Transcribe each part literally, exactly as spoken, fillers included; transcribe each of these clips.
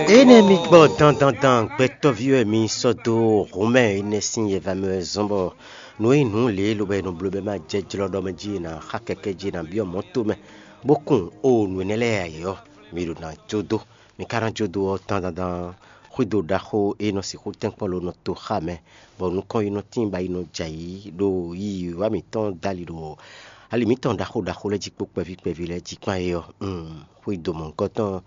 Énɛ́ mi gbɔ dandandan, gbɛtɔ́ví wɛ mi sɔ́ dó hǔnmɛ énɛ́ sín yɛva mɛ wɛ zɔ́n bɔ nǔ e nyí nǔ lě lobo e nɔ bló bɔ é ma jɛ jlɔ́ ɖɔ mɛ jí è nǎ xa kɛkɛ́ jí è nǎ byɔ́ mɔ̌ tomɛ, bó kun o nǔ énɛ́ lɛ́ɛ ǎ é ɔ́, mi ɖo ná jó dó. Mi ka ná jó dó ɔ́, dandandan xwído ɖaxó e nɔ sixú tɛ́nkpɔ́n lo nɔ to xá mɛ, bɔ nukɔn yi nɔ tíin ba yi nɔ jɛ ayǐ ɖo yiyi wá mǐtɔn dali ɖo ali mǐtɔn ɖaxó ɖaxó lɛ́ɛ jí kpó kpɛví kpɛví lɛ́ɛ jí kpán é ɔ́, xwído mɔ̌hunkɔtɔn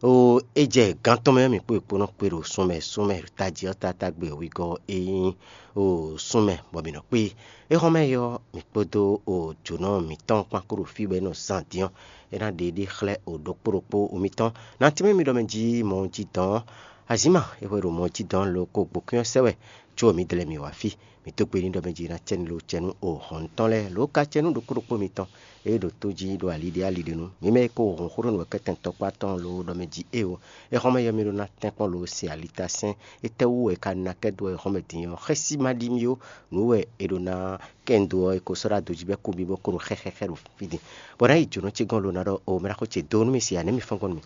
ó, é jɛ gán tɔn mɛ mǐ kpó è kpó nɔ kpé ɖo súnmɛ súnmɛ tají ɔ́ tátágbe wígɔ́ é nyí o súnmɛ bɔ mǐ nɔ kpé. Éhɔ́nmɛ ɔ́, mǐ kpódó o jǒnɔ mǐtɔn kpán kó ɖo fí bɔ é nɔ zán din ɔ́, é ná ɖe ɖé xlɛ́ o ɖokpó ɖokpó o mitɔn. Nantí mɛ mi ɖɔ mɛ jí mɔ jí dɔn ɔ́, azǐma é hwɛ ɖo mɔ jí dɔn lo ko gbǒkún ɔ́ sɛ wɛ, có mǐ dlɛ́ mǐ wá fí. Mǐ dó gbe n'i ɖɔ mɛ jí ná cɛ́ nú lo cɛ́ nú o hɔn tɔn lɛ́ɛ lǒ ka cɛ́ nú ɖokpó ɖokpó mitɔn. É ɖo tó jí ɖo ali ɖé ali ɖé nu. Mǐ mɛ e ko hɔn xó ɖó nǔ wɛ kɛ́tɛn tɔkpá tɔn lo ɖɔ mɛ jí é o. Éhɔ́nmɛ yɔ mì ɖó ná tɛ́nkpɔ́n lo se alitasɛn. Étɛ́wú wɛ è ka ná kɛ dó wɛ éhɔ́nmɛ din ɔ́? Xɛ́ sí ma ɖi mì ó. Nǔ wɛ è ɖo ná kɛ un dó ɔ́, è ko sɔ́ ɖó adǒ jí bɔ é kú mì bó ko ɖo xɛxɛxɛ ɖo fí din. Bɔ ná yi jǒnɔ ce gɔ́n lo ná ɖɔ o mɛ ná xó ce dó nú mì se ǎ, nɛ̌ mi fɔ́n gbɔn nú mì?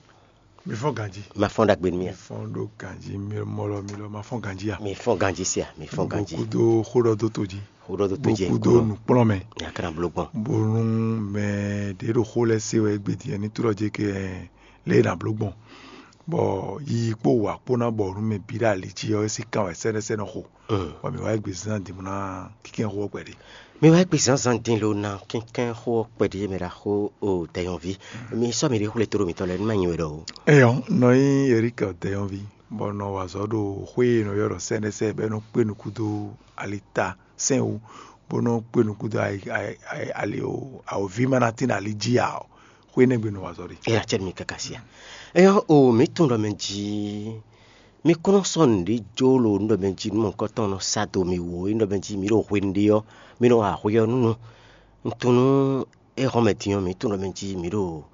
Mi fɔ́n ganjí. Ma fɔ́n ɖagbe nú mì Mi a? Fɔ́n ɖó ganjí, mi mɔ lɔ mi lɔ ma fɔ́n ganjí a? Mi fɔ́n ganjí se a? Mi fɔ́n ganjí. Kúdó xó ɖɔ dó to jí. Xó ɖɔ dó to jí. Kúdó nǔkplɔ́nmɛ. Ní a ka ná bló gbɔn. Bónú mɛ ɖě ɖo xó lɛ́ɛ se wɛ égbé din ní tlɔ́ jɛ kɛ lě e nǎ bló gbɔn. Bɔ yiyi kpó wǎ kpó ná bɔ nú mɛ bǐ ɖo ali jí ɔ́, é sí kan wɛ sɛ́nɛ́sɛ́nɛ xo. Bɔ mǐ wá égbé zán din bó ná kínkɛ́n xó ɔ́ kpɛɖé. Mi wá égbé zǎnzǎn din lo ná kínkɛ́n xó ɔ́ kpɛɖé mɛ ɖaxó o dɛyɔnví. Mi sɔ́ mi ɖé xwlé tóɖó mitɔn lɛ́ɛ nú má nyi we ɖɔ o. Eyɔ, nɔ nyí Erika dɛyɔnví, bɔ nɔ wa azɔ̌ ɖo xwé e nɔ ylɔ́ ɖɔ sɛ́nɛsɛ́ bɔ é nɔ kpé nukún dó alita sɛn wú, bó nɔ kpé nukún dó ali o awǒví ma ná tín ali jí ǎ ɔ́, xwé énɛ́ gbe nɔ wa azɔ̌ ɖe. É ná cɛ mi káká sia. Eyɔ o mǐ tunwun ɖɔ mɛ jí mi kún nɔ sɔ́ nǔɖé jó lo nú ɖɔ mɛ jí nú mɔ̌hunkɔtɔn nɔ sa do mi wǒ é nɔ mɛ jí mi ɖo hwenu ɖé ɔ́, mi nɔ wa hwe ɔ́ nú nu. Un tunwun nú é hɔn mɛ din ɔ́, mǐ tunwun ɖɔ mɛ jí mǐ ɖo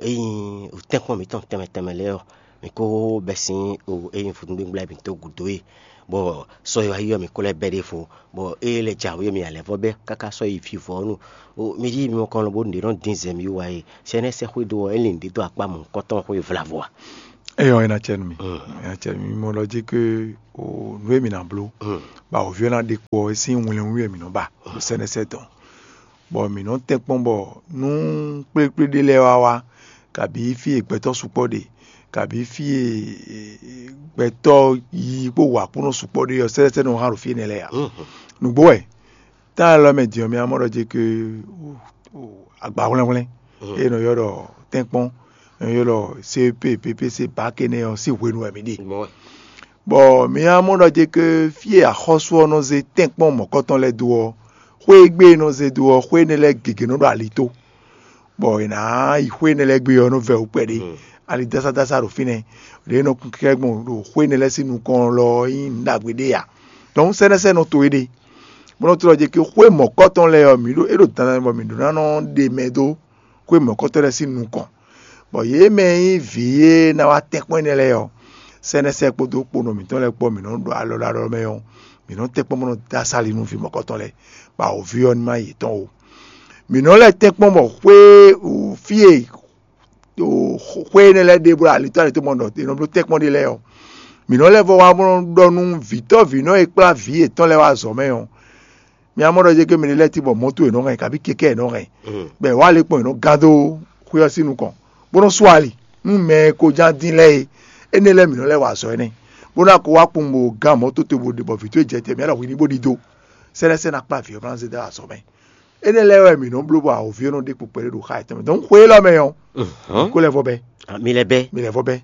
ényí tɛ́nkpɔ́n mǐtɔn tɛnmɛ tɛnmɛ lɛ́ɛ ɔ́, mǐ kó bɛ́ sín ényí vodúngbégbla e mǐ dó gǔdo e, bɔ sɔ e wá yi ɔ́, mǐ kó lɛ́ bɛ́ ɖěvo, bɔ é lɛ́ jǎwe ɔ́, mǐ ná lɛ́ vɔ́ bɛ́ káká sɔ́ yi vivɔ́ ɔ́ nu. Mi ɖíe mi mɔ kɔn lobó nǔɖé nɔ dín zɛ mì wú wá e, sɛnɛ́ sɛ́xwé dó ɔ́, é lin nǔɖé dó akpá mɔ̌hunkɔtɔn xwé vlavo a? Eyɔ, é ná cɛ nú mi. É ná cɛ nú mi. Mi mɔ ɖɔ jí ké o nǔ e mǐ ná bló, bɔ awǒvi ɔ́ ná ɖe kpo ɔ́, é sín wlɛnwú wɛ mǐ nɔ ba ɖo sɛ́nɛ́sɛ́ tɔn. Bɔ mǐ nɔ tɛ́n kpɔ́n bɔ nú kplékplé ɖé lɛ́ɛ wá wá, kabǐ fí e gbɛtɔ́ sukpɔ́ ɖe, kabǐ fí e gbɛtɔ́ yiyi kpó wǎkúnɔ sukpɔ́ ɖe ɔ́, sɛ́sɛ́ nɔ hán ɖo fí énɛ́ lɛ́ɛ ǎ. Nǔgbó wɛ, tá e lɔ mɛ din ɔ́, mi ná mɔ ɖɔ jɛ ké agba hwlɛ́nhwlɛ́n e nɔ ylɔ́ ɖɔ tɛ́nkpɔ́n, e nɔ ylɔ́ ɖɔ C E P, P P C, bǎk énɛ́ ɔ́ sín hwenu wɛ mǐ ɖe. Bɔ mi ná mɔ ɖɔ jɛ ké fí e axɔ́sú ɔ́ nɔ zé tɛ́nkpɔ́n mɔ̌kɔtɔn lɛ́ɛ dó ɔ́, xwé e gbe e nɔ zé dó ɔ́, xwé énɛ́ lɛ́ɛ gěgé nɔ ɖo ali tó, bɔ è nǎ yi xwé énɛ́ lɛ́ɛ gbe ɔ́ nɔ vɛ wǔ kpɛɖé. Ali dásádása ɖo fínɛ́, ɖě e nɔ kún kɛ́ gbɔn ɖo xwé énɛ́ lɛ́ɛ sín nukɔn lɔ ɔ́ nyí nǔ ɖagbe ɖé ǎ. Dɔnku sɛ́nɛ́sɛ́nɔ towe ɖe, bó nɔ́ tlɔ́ jɛ ké xwé mɔ̌kɔtɔn lɛ́ɛ ɔ́, mǐ ɖo é ɖo dandan bɔ mǐ ɖó ná nɔ ɖe mɛ dó xwé mɔ̌kɔtɔn lɛ́ɛ sín nukɔn, bɔ yě mɛ e nyí vǐ e ná wá tɛ́nkpɔ́n énɛ́ lɛ́ɛ ɔ́, sɛ́nɛ́sɛ́ kpódó kponɔ mǐtɔn lɛ́ɛ kpó mǐ nɔ́ ɖo alɔ ɖo alɔ mɛ ɔ́, mǐ nɔ́ tɛ́nkpɔ́n bó nɔ́ dó asá ali nú vǐ mɔ̌kɔtɔn lɛ́ɛ, bɔ awǒvi ɔ́ ní má nyí yětɔn ó. Mǐ nɔ́ lɛ́ tɛ́nkpɔ́n bɔ xwé fí e xwé énɛ́ lɛ́ɛ ɖe bó ɖo alitó alitó mɔ ɖɔ è nɔ bló tɛ́nkpɔ́n ɖé lɛ́ɛ ɔ́, mǐ nɔ́ lɛ́ vɔ wá bó nɔ́ ɖɔ nú vǐtɔ́vǐnɔ e kplá vǐ yětɔn lɛ́ɛ wá azɔ̌ mɛ ɔ́, mi ná mɔ ɖɔ jɛ ké mɛ ɖé lɛ́ɛ cí bɔ mɔ̌to è nɔ hɛn, kabí kɛkɛ́ è nɔ hɛn, bɔ è wá lě kpɔ́n è nɔ gán dó xwé ɔ́ sín nukɔn, bó nɔ́ sú ali nú mɛ e ko ján dín lɛ́ɛ é. Énɛ́ lɛ́ɛ mǐ nɔ lɛ́ wa azɔ̌ énɛ́, bó ná ko wá kpowun bó gán mɔ̌ toto bó ɖe bɔ vǐ towe jɛ te mǐ ɖɔ hwi ní bó ɖidó. Sɛ́nɛ́sɛ́ ná kplá vǐ ɔ́ bó ná zé dó azɔ̌ mɛ. Énɛ́ lɛ́ɛ wɛ mǐ nɔ bló bɔ awǒvi ɔ́ nɔ ɖe kpo kpɛɖé ɖo xá yětɔn mɛ. Dɔnku xwe élɔ́ mɛ ɔ́, mǐ kó lɛ́ vɔ bɛ́. Mi lɛ́ bɛ́. Mi lɛ́ vɔ bɛ́.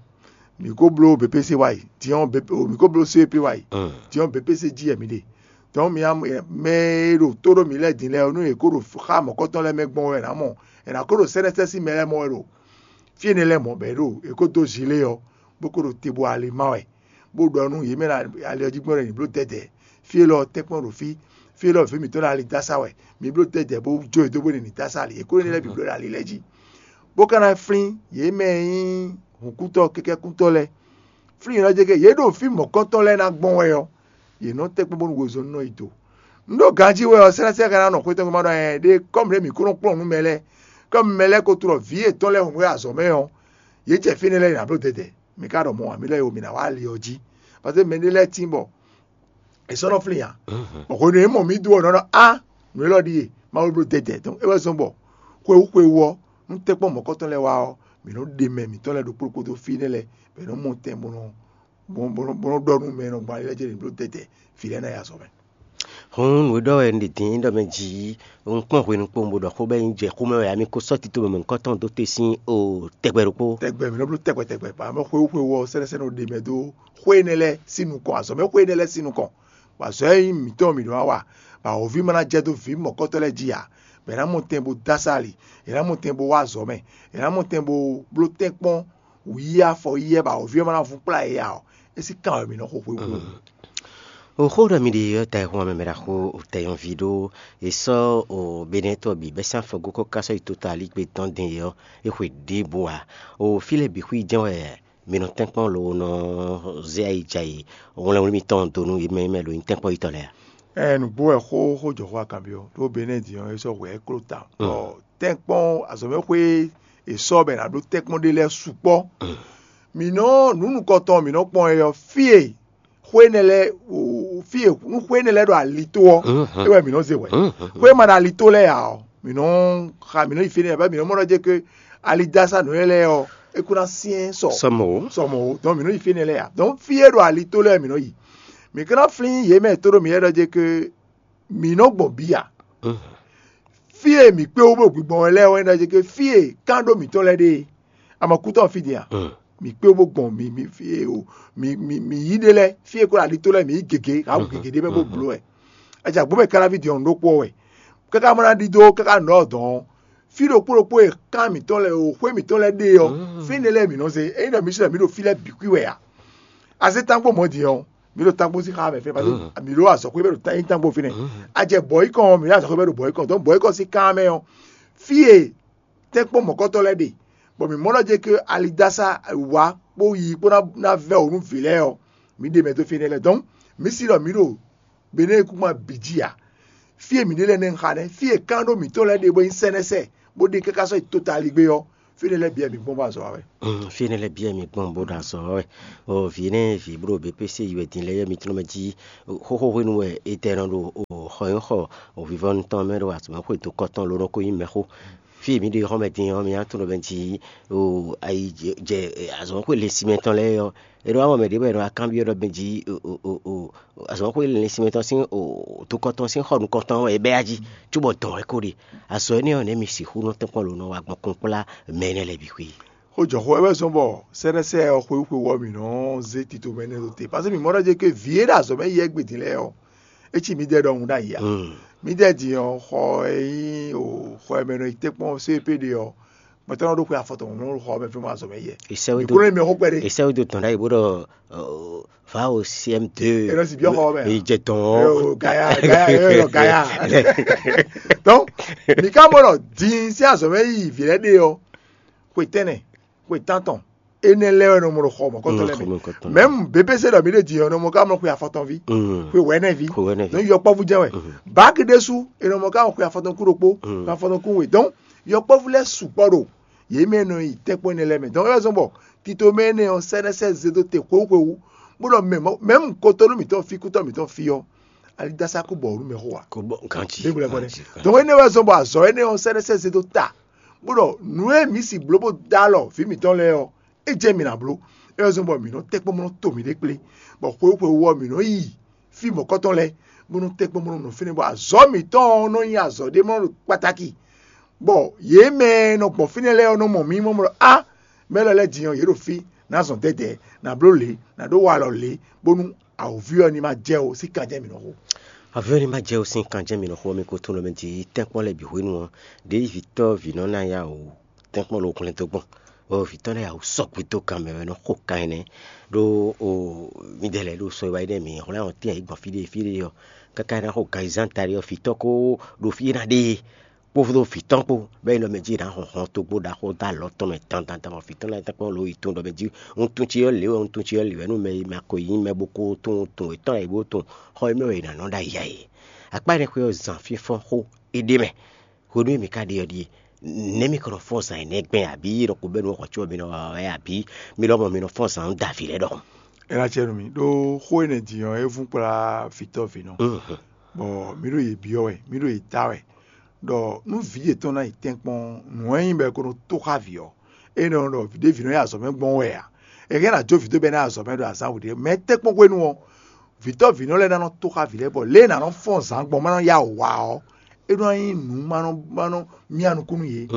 Mǐ kó bló B P C wá yi, diɔ́n B P, mǐ kó bló C E P wá yi, diɔ́n B P C jí wɛ mǐ ɖe. Dɔnku mi mɛ e ɖo tó ɖó mǐ lɛ́ɛ din lɛ́ɛ ɔ́, nú yě kó ɖo xá mɔ̌kɔtɔn lɛ́ɛ mɛ gbɔn wɛ è nǎ mɔ, è nǎ kó ɖo sɛ́nɛ́sɛ́ sín mɛ lɛ́ɛ mɔ wɛ ɖo fí énɛ́ lɛ́ɛ mɔ̌ bɔ é ɖo è kó dó zilé ɔ́, bó kó ɖo te bó ali má wɛ, bó ɖɔ nú yě mɛ ali ɔ́ jí gbɔn ɖɔ è nǐ bló dɛdɛ. Fí élɔ́ ɔ́ tɛ́nkpɔ́n ɖo fí, fí élɔ́ ɔ́ vǐ mǐtɔn ɖo ali dó asá wɛ, mi bló dɛdɛ bó jó e dó bó ɖe nǐ dó asá ali, è kó énɛ́ lɛ́ɛ bǐ bló ɖo ali lɛ́ɛ jí. Bó ka ná flín yě mɛ e nyí hǔnkútɔ́ kɛkɛ́kútɔ́ lɛ́ɛ. Flín yě nɔ jɛ kɛ yě ɖo fí mɔ̌kɔntɔn lɛ́ɛ ná gbɔn wɛ ɔ́, yě nɔ tɛ́nkpɔ́n bónú wezɔ́ nɔ yi do. Un ɖó ganjí wɛ ɔ́, sɛ́nɛ́sɛ́n ka ná nɔ xwé tɔn gbe ma ɖɔ ɛ ɖe kɔ́mu ɖé mǐ kó nɔ kplɔ́n nǔ mɛ lɛ́ɛ. Kɔ́mu mɛ lɛ́ɛ ko tlɔ vǐ yětɔn lɛ́ɛ hun wɛ azɔ̌ mɛ ɔ́, yě jɛ fínɛ́ lɛ́ɛ nǎ bló dɛdɛ. Mi ka ɖɔ mɔ̌ ǎ, mi lɛ́ yi o, mi ná wá ali ɔ́ jí. Paseke mɛ ɖé lɛ́ɛ tín bɔ è sɔ́ nɔ flín ǎ. Bɔ hwenu e mɔ mǐ dó ɔ́, nɔ ɖɔ á, nǔ élɔ́ ɖíe, Mawu bló dɛdɛ. Donc é wɛ zɔ́n bɔ xwewú xwewú ɔ́, nú tɛ́nkpɔ́n mɔ̌kɔtɔn lɛ́ɛ wá ɔ́, mǐ nɔ ɖe mɛ mǐtɔn lɛ́ɛ ɖokpó ɖokpó dó fí énɛ́ lɛ́ɛ, bɔ è nɔ mɔ tɛn bó nɔ bó nɔ ɖɔ nú mɛ e nɔ gbɔn ali lɛ́ɛ jí ɖě bló tɛtɛ, vǐ lɛ́ɛ ná yi azɔ̌ mɛ. Hǔn nǔ e ɖɔ wɛ un ɖe din ɖɔ mɛ jí un kpɔ́n hwenu kpowun bó ɖɔ xó bɔ é nyí jɛ xomɛ wɛ, ami ko sɔ́ tito mɛ mɔ̌hunkɔtɔn dó te sín o tɛgbɛ ɖokpó. Tɛgbɛ mǐ nɔ bló tɛgbɛ tɛgbɛ, bɔ amɛ xwewú xwewú ɔ́ sɛ́nɛ́sɛ́nɛ ɖe mɛ dó xwé énɛ́ lɛ́ɛ sín nukɔn, azɔ̌ mɛ xwé énɛ́ lɛ́ɛ sín nukɔn, bɔ azɔ̌ e nyí mǐtɔn mǐ nɔ wá wa, bɔ awǒvi ma ná jɛ dó vǐ mɔ̌kɔtɔn lɛ́ɛ jí ǎ, bɔ è nǎ mɔ tɛn bó dó asá ali, è nǎ mɔ tɛn bó wá azɔ̌ mɛ, è nǎ mɔ tɛn bó bló tɛ́nkpɔ́n wǔ yí afɔ yí ɛ bɔ awǒvi ɔ́ ma ná vún kplá yě ǎ ɔ́, é sín kan wɛ mǐ nɔ xo xwewú. O xó ɖɔ mi ɖe ɔ́, ta e hun amɛ mɛ ɖaxó tɛnyɔ́ví ɖó è sɔ́ o Benɛ́tɔ́ bǐ bɛ́ sín afɔgó kɔ́ ká sɔ́ yi tota alígbé tɔn din é ɔ́, é xwe ɖěbǔ ǎ. O fí lɛ́ɛ bǐ xwí jɛ́n wɛ mi nɔ tɛ́nkpɔ́n lo nɔ zé ayi jɛ ayǐ wlɛ́nwlí mitɔn dó nú yě mɛ e mɛ ɖo nyí tɛ́nkpɔ́ yětɔn lɛ́ɛ a? Ɛ nǔgbó wɛ xó xó jɔ xó akanbyɔ́ ɖó Benɛ́di ɔ́ é sɔ́ hwɛ é kló ta. Bɔ tɛ́nkpɔ́n azɔ̌mɛxwé e sɔ́ bɔ è nǎ ɖó tɛ́nkpɔ́n ɖé lɛ́ɛ sukpɔ́. Mǐ nɔ nǔ nukɔntɔn mǐ nɔ kpɔn é ɔ́, fí e xwé énɛ́ lɛ́ɛ fí e nú xwé énɛ́ lɛ́ɛ ɖo ali tó ɔ́, é wɛ mǐ nɔ zé hwɛ. Xwé e ma ɖo ali tó lɛ́ɛ ǎ ɔ́, mǐ nɔ xa mǐ nɔ yi fínɛ́ ǎ, mǐ nɔ mɔ ɖɔ jɛ ké ali dó asá nǔ lɛ́ɛ lɛ́ɛ ɔ́, é kún ná syɛ́n sɔ sɔ mɔ̌ ó. Donc mǐ nɔ yi fínɛ́ lɛ́ɛ ǎ. Donc fí e ɖo ali tó lɛ́ɛ mǐ nɔ yi. Mǐ ka ná flín yě mɛ e tóɖó mǐ lɛ́ɛ ɖɔ jɛ ké mǐ nɔ gbɔn bǐ ǎ. Fí e mǐ kpé wú bó gbigbɔn wɛ lɛ́ɛ wɛ ɖɔ jɛ ké fí e kán ɖó mǐtɔn lɛ́ɛ ɖe é. Ama kútɔ́ fí din a? Mǐ kpé wú bó gbɔn mǐ mǐ fí e o mǐ mǐ mǐ yí ɖe lɛ́ɛ, fí e kó ɖo ali tó lɛ́ɛ mǐ yí gěgé, hǎ wǔ gěgé ɖé mɛ bó bló wɛ. Ajagbó mɛ káláví din ɔ́ ɖokpó wɛ. Káká mɔ ná ɖidó káká nǔ ɔ́ dɔn ɔ́, fí ɖokpó ɖokpó e kán mǐtɔn lɛ́ɛ o xwé mǐtɔn lɛ́ɛ ɖe ɔ́, fínɛ́ lɛ́ɛ mǐ nɔ zé. Ényí ɖɔ mǐ sɔ́ mǐ ɖo fí lɛ́ɛ bǐ kwí wɛ ǎ. Azé tánkpó mɔ̌ din ɔ́, mǐ ɖo tánkpó sín xá mɛ fɛ́n, parce que mǐ ɖo azɔ̌xwé bɛ ɖo tá- nyí tánkpó fínɛ́. Ajɛ bɔ̌yikɔn ɔ́, mǐ ɖo azɔ̌xwé bɛ ɖo bɔ̌yikɔn, donc bɔ̌yikɔn sín kán mɛ ɔ́, fí e tɛ́nkpɔ́n mɔ̌kɔtɔn lɛ́ɛ ɖe, bɔ mǐ mɔ ɖɔ jɛ ké alidásá wá kpó yi kpó ná vɛ́ wǒ nú vǐ lɛ́ɛ ɔ́, mǐ ɖe mɛ dó fínɛ́ lɛ́ɛ. Donc mǐ si ɖɔ mǐ ɖo Benɛ́ kúkúma bǐ jí ǎ. Fí e mǐ ɖe lɛ́ɛ nɛ́ un xa nɛ́, fí e kán ɖó mǐtɔn lɛ́ɛ ɖe bó nyí sɛ́nɛ́sɛ, bó ɖe káká sɔ́ yi tota ligbé ɔ́, fínɛ́ lɛ́ɛ bǐ wɛ mǐ gbɔn bó azɔ̌ wa wɛ. Fínɛ́ lɛ́ɛ bǐ wɛ mi gbɔn bó ɖo azɔ̌ wa wɛ. Vǐ énɛ́ vǐ bó ɖo B P C yi wɛ din lɛ́ɛ, yɛ mitɔ́ mɛ jí xóxó hwenu wɛ è tɛ nɔ ɖo xɔ nyí xɔ vivɔnu tɔn mɛ ɖo azɔ̌ mɛ xwedó kɔtɔn ló nɔ ko nyí mɛxó. Fí e mǐ ɖo xɔmɛ din ɔ́, mi ná tunwun ɖɔ mɛ jí ayi jɛ azɔ̌ mɛ xwé le sinmɛ tɔn lɛ́ɛ ɔ́, è nɔ wá mɔ mɛ ɖě bɔ è nɔ wá kanbyɔ́ ɖɔ mɛ jí azɔ̌ mɛ xwé le sinmɛ tɔn sín tokɔ tɔn sín xɔ nukɔntɔn wɛ è bɛ́ yá jí, cóbɔ dɔn wɛ ko ɖe. Azɔ̌ énɛ́ ɔ́, nɛ̌ mi sixú nɔ tɛ́nkpɔ́n lǒ nɔ wá gbɔn kpɔ́nkplá mɛ énɛ́ lɛ́ɛ bǐ xwé? Xó jɔ xó wɛ wɛ zɔ́n bɔ sɛ́nɛ́sɛ́ ɔ́ xwewú xwewú ɔ́ mǐ nɔ zé tito mɛ énɛ́ ɖó te, paseke mǐ mɔ ɖɔ jɛ ké vǐ e ɖo azɔ̌ mɛ yi wɛ gbe din lɛ́ɛ ɔ́, é cí mǐdɛɛ ɖɔhun ɖ'ayǐ ǎ. Mǐdɛɛ din ɔ́, xɔ e nyí o xɔ e mɛ nɔ yi tɛ́nkpɔ́n C P ɖe ɔ́, gbɛtɔ́ nɔ ɖo xwe afɔtɔn nɔ xɔ mɛ fɛn azɔ̌ mɛ yi. È sɛ́ wɛ Mǐ dó kúnɔ mɛ xó kpɛɖé. È sɛ́ wɛ dó dɔn ɖ'ayǐ bó ɖɔ va o C M deux. È nɔ si byɔ́ xɔ mɛ. È jɛ dɔn. Gaya gaya gaya. Donc mǐ ka mɔ ɖɔ din sín azɔ̌ mɛ yi vǐ lɛ́ɛ ɖe ɔ́, xwe tɛ́nnɛ, xwe tántɔn, énɛ́ lɛ́ɛ wɛ nɔ mɔ ɖo xɔ mɔ̌kɔtɔn lɛ́ɛ mɛ. Mɛ̌mu B P C ɖɔ mǐ ɖe din ɔ́, nɔ mɔ ká mɔ xwe afɔtɔn ví, xwe wɛ̌nɛ ví. Xwe wɛ̌nɛ ví. Donc yɔkpɔ́vú jɛ́n wɛ. Báki ɖésú è nɔ mɔ ká mɔ xwe afɔtɔn kú ɖokpó, xwe afɔtɔn kú we. Donc yɔkpɔ́vú lɛ́ɛ sukpɔ́ ɖo yě mɛ e nɔ nyi tɛ́nkpɔ́n énɛ́ lɛ́ɛ mɛ. Donc é wɛ zɔ́n bɔ tito mɛ énɛ́ ɔ́ sɛ́nɛ́sɛ́ zé dó te xwewú xwewú, bó ɖɔ mɛ mɔ̌- mɛ̌mu kotonu mǐtɔn fí kútɔ́ mǐtɔn fí ɔ́, alidásá kó bɔ nǔ mɛ xó wa. Kó bɔ ganci. Dégbò lɛ bɔ dɛ. Ganci, ganci. Donc énɛ́ wɛ zɔ́n bɔ azɔ̌ énɛ́ ɔ́ sɛ́nɛ́sɛ́ zé dó ta, bó ɖɔ nǔ e mǐ si bló bó dó alɔ vǐ mǐtɔn lɛ́ɛ ɔ́, é jɛ mǐ ná bló. É wɛ zɔ́n bɔ mǐ nɔ tɛ́nkpɔ́n bó nɔ to mǐɖée kplé, bɔ xwewú xwewú ɔ́ mǐ nɔ yi fí mɔ̌kɔtɔn lɛ́ɛ, bó nɔ tɛ́nkpɔ́n bó nɔ nɔ fínɛ́, bɔ azɔ̌ mǐtɔn ɔ́ nɔ nyí azɔ̌ ɖé mɔ ɖo kpatáki, bɔ yě mɛ e nɔ gbɔn fínɛ́ lɛ́ɛ ɔ́ nɔ mɔ mǐ mɔ ɖɔ á, mɛ élɔ́ lɛ́ɛ din ɔ́, yě ɖo fí, ná zɔn dɛ́dɛ̌, ná bló lě, ná ɖó walɔ lě, bónú awǒvi ɔ́ ní ma jɛ ó, sín kan jɛ́n mǐ nɔ xo. Avɔ́ ní ma jɛ ó, sín kan jɛ́n mǐ nɔ xo ɔ́, mi ko tunwun ɖɔ mɛ jí tɛ́nkpɔ́n lɛ́ɛ bǐ hwenu ɔ́, ɖěe vǐ tɔ́ vǐ nɔ ná ya wǔ tɛ́nkpɔ́n lo hwlɛ́n dó gbɔn, bɔ vǐ tɔn lɛ́ɛ ya wǔ sɔgbe dó kan mɛ wɛ nɔ xo kan énɛ́. Ɖó o midɛɛ lɛ́ɛ ɖo sɔ e wá yi nɛ́ mǐ hwlɛ́n ɔ́ tɛ́n yě gbɔn fí ɖé fí ɖé ɔ́, káká é ná xo ganzán taɖé ɔ́, vǐ tɔ́ ko ɖo fí é ná ɖe é, kpódó vǐ tɔn kpó, bɔ é nyí ɖɔ mɛ jí è nǎ hɔn hɔn togbó ɖaxó dó alɔ tɔn mɛ dandan, bɔ vǐ tɔn lɛ́ɛ tɛ́nkpɔ́n lo yi tunwun ɖɔ mɛ jí wuntun ce ɔ́ lě wɛ wuntun ce ɔ́ lě wɛ nú mɛ e ma ko nyí mɛ bó ko tunwun tunwun yětɔn e bó tunwun xɔ e mɛ wɛ è nǎ nɔ ɖo ayǐ ǎ é. Akpá énɛ́ xwé ɔ́ zan fínfɔ́n xó é ɖ'é mɛ. Hwenu e mǐ ka ɖe ɔ́ ɖíe, nɛ̌ mi kɔ nɔ fɔ́n zǎn énɛ́ gbɛn, abǐ ɖɔ kpo bɛ́ nú xɔ có mi nɔ wa wɛ, abǐ mi lɔmɔ̌ mi nɔ fɔ́n zǎn dó avǐ lɛ́ɛ ɖɔhun? É ná acɛ nú mi ɖó xó énɛ́ din ɔ́, é vún kplá vǐtɔ́ vǐnɔ, bɔ mǐ ɖo yě byɔ́ wɛ, mǐ ɖo yě da wɛ, ɖɔ nú vǐ yětɔn ná yi tɛ́nkpɔ́n nǔ e nyí bɔ è ko nɔ tó xá vǐ ɔ́, é nɔ ɖɔ vǐ ɖé vǐnɔ yi azɔ̌ mɛ gbɔn wɛ ǎ. È hɛn ná jó vǐ dó bɔ é ná yi azɔ̌ mɛ ɖo azǎn wǔ ɖé mɛ tɛ́nkpɔ́n hwenu ɔ́, vǐtɔ́ vǐnɔ lɛ́ɛ ná nɔ tó xá vǐ lɛ́ɛ, bɔ lě e è nǎ nɔ fɔ́n zǎn gbɔn ma nɔ yá wǔ wá ɔ́, é nɔ nyí nǔ ma nɔ ma nɔ myá nukún nú yě.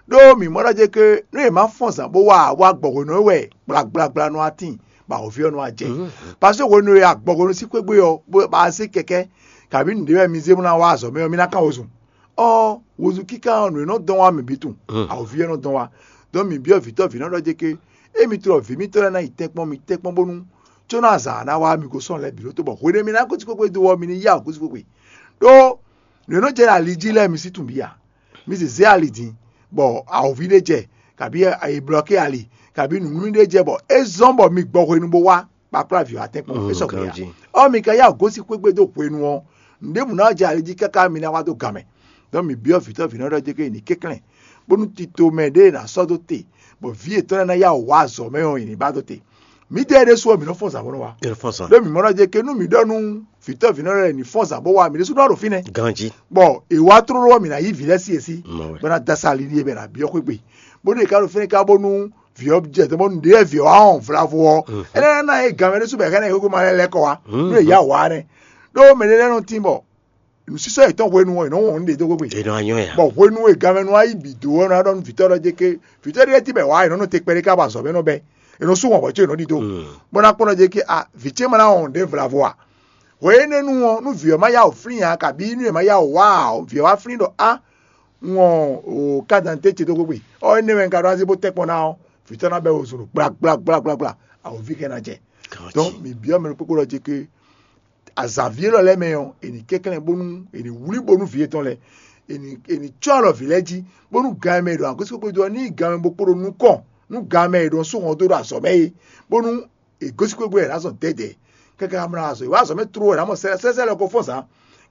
Ɖó mǐ mɔ ɖɔ jɛ ke nú è ma fɔ́n zǎn bó wá wá gbɔ hwenu e wɛ gblagblagbla nɔ wá tíin, bɔ awǒvi ɔ́ nɔ wá jɛ. Paseke hwenu e agbɔhwenu sín xwé gbe ɔ́, bó ba zé kɛkɛ́, kabǐ nǔɖé wɛ mi zé bó ná wá azɔ̌ mɛ ɔ́, mi ná kan wezun. Ɔ́, wezun kíká ɔ́, nǔ e nɔ dɔn wá mǐ bǐ tunwun, awǒvi ɔ́ nɔ dɔn wá. Dɔn mǐ byɔ́ vǐtɔ́ vǐnɔ ɖɔ jɛ ke, émi tlɔ vǐ mítɔn lɛ́ɛ ná yi tɛ́nkpɔ́n mi tɛ́nkpɔ́n bónú có nɔ azǎn ná wá mi gosɔ́ lɛ́ɛ bǐ ɖótó, bɔ hwenu e mi ná gosín xwé gbe dó ɔ́, mi ní yá gosín xwé gbe. Ɖó nǔ e nɔ jɛ ali jí lɛ́ɛ mi sí tunwun bǐ ǎ. Mi zězé ali din, bɔ awǒvi ɖé jɛ, kabǐ è blɔ́kɛ ali, kabǐ nǔnúmí ɖé jɛ, bɔ é zɔ́n bɔ mi gbɔ hwenu bó wá kpakpla vǐ wá tɛ́nkpɔ́n é sɔgbe ǎ. Ɔ́, mi ka yá gosín xwé gbe dó hwenu ɔ́, nǔɖěbǔ ná jɛ ali jí káká mi ná wá dó gan mɛ. Dɔn mi byɔ́ vǐtɔ́ vǐnɔ ɖɔ jɛ ke è nǐ kɛnklɛ́n, bónú tito mɛ ɖé è nǎ sɔ́ dó te, bɔ vǐ yětɔn lɛ́ɛ ná yá wǔ wá azɔ̌ mɛ ɔ́, è nǐ ba dó te. Mǐdɛɛ ɖésú ɔ́, mǐ nɔ fɔ́n zǎn bó nɔ wá. Ɖó mǐ mɔ ɖɔ jɛ ke nú mǐ ɖɔ nú vǐtɔ́ vǐnɔ lɛ́ɛ ní fɔ́n zǎn bó wá, mǐ ɖésú nɔ ɖo fínɛ́. Ganjí. Bɔ è wá tlóló ɔ́, mǐ ná yí vǐ lɛ́ɛ sí yě sí, bó ná dó asá ali n'i é bɔ è nǎ byɔ́ xwé gbe. Bónú è ka ɖo fínɛ́ ká bónú vǐ ɔ́ jɛ dɔn bónú ɖěe vǐ ɔ́ wá wɔn vlavo ɔ́, é lɛ́ ná yí gan mɛ ɖésú bɔ è hɛn ɛ xwéma lɛ́ɛ lɛ́ kɔ wá, nú è yá wǎ nɛ́. Ɖó mɛ ɖé lɛ́ɛ nɔ tín bɔ nǔsísɔ́ yětɔn hwenu ɔ́, è nɔ wɔn nǔ ɖě dó xwé gbe. È nɔ anyɔ ya. Bɔ hwenu e ganmɛ nɔ wá yi bǐ dó ɔ́, è nɔ ɖɔ nú vǐtɔ́ ɖɔ jɛ ké, vǐtɔ́ ɖé tɛ́ bɛ wǎ, è nɔ nɔ te kpɛɖé ká bɔ azɔ̌ mɛ nɔ bɛ́, è nɔ sú wɔn hwɛ̌ có è nɔ ɖidó, bó ná kpɔ́n ɖɔ jɛ ké a vǐ ce ma ná wɔn nǔɖé vlavo a? Hwɛ énɛ́ nu ɔ́, nú vǐ ɔ́ ma yá wǔ flín ǎ, kabǐ nú è ma yá wǔ wá ǎ, vǐ ɔ́ wá flín ɖɔ á, un wɔn o kádantɛ ce dó xwé gbe, ɔ́ énɛ́ wɛ un ka ɖó azé bó tɛ́ kpɔ́n ná ɔ́, vǐtɔ́ ná bɛ́ wezun ɖo gblagblagblagbla, awǒvi hɛn ná jɛ. Dɔn mǐ byɔ́ mɛ ɖokpókpó ɖɔ jɛ ké azǎn ví élɔ́ lɛ́ɛ mɛ ɔ́, è nǐ kɛnklɛ́n bónú è nǐ wlí bónú vǐ yětɔn lɛ́ɛ, è nǐ è nǐ cɔ́ alɔ vǐ lɛ́ɛ jí, bónú gan e mɛ è ɖo akwɛ́síkpékpédó ɔ́ ní yi gan mɛ bó kpóɖó nukɔn nú gan mɛ è ɖo sú hɔn dó ɖo azɔ̌ mɛ é, bónú è gosín xwé gbe wɛ è nǎ zɔn dɛ̌dɛ̌. Káká mlá azɔ̌, è wá azɔ̌ mɛ tló wɛ è nǎ mɔ sɛ́sɛ́ lɔ ko fɔ́n zǎn,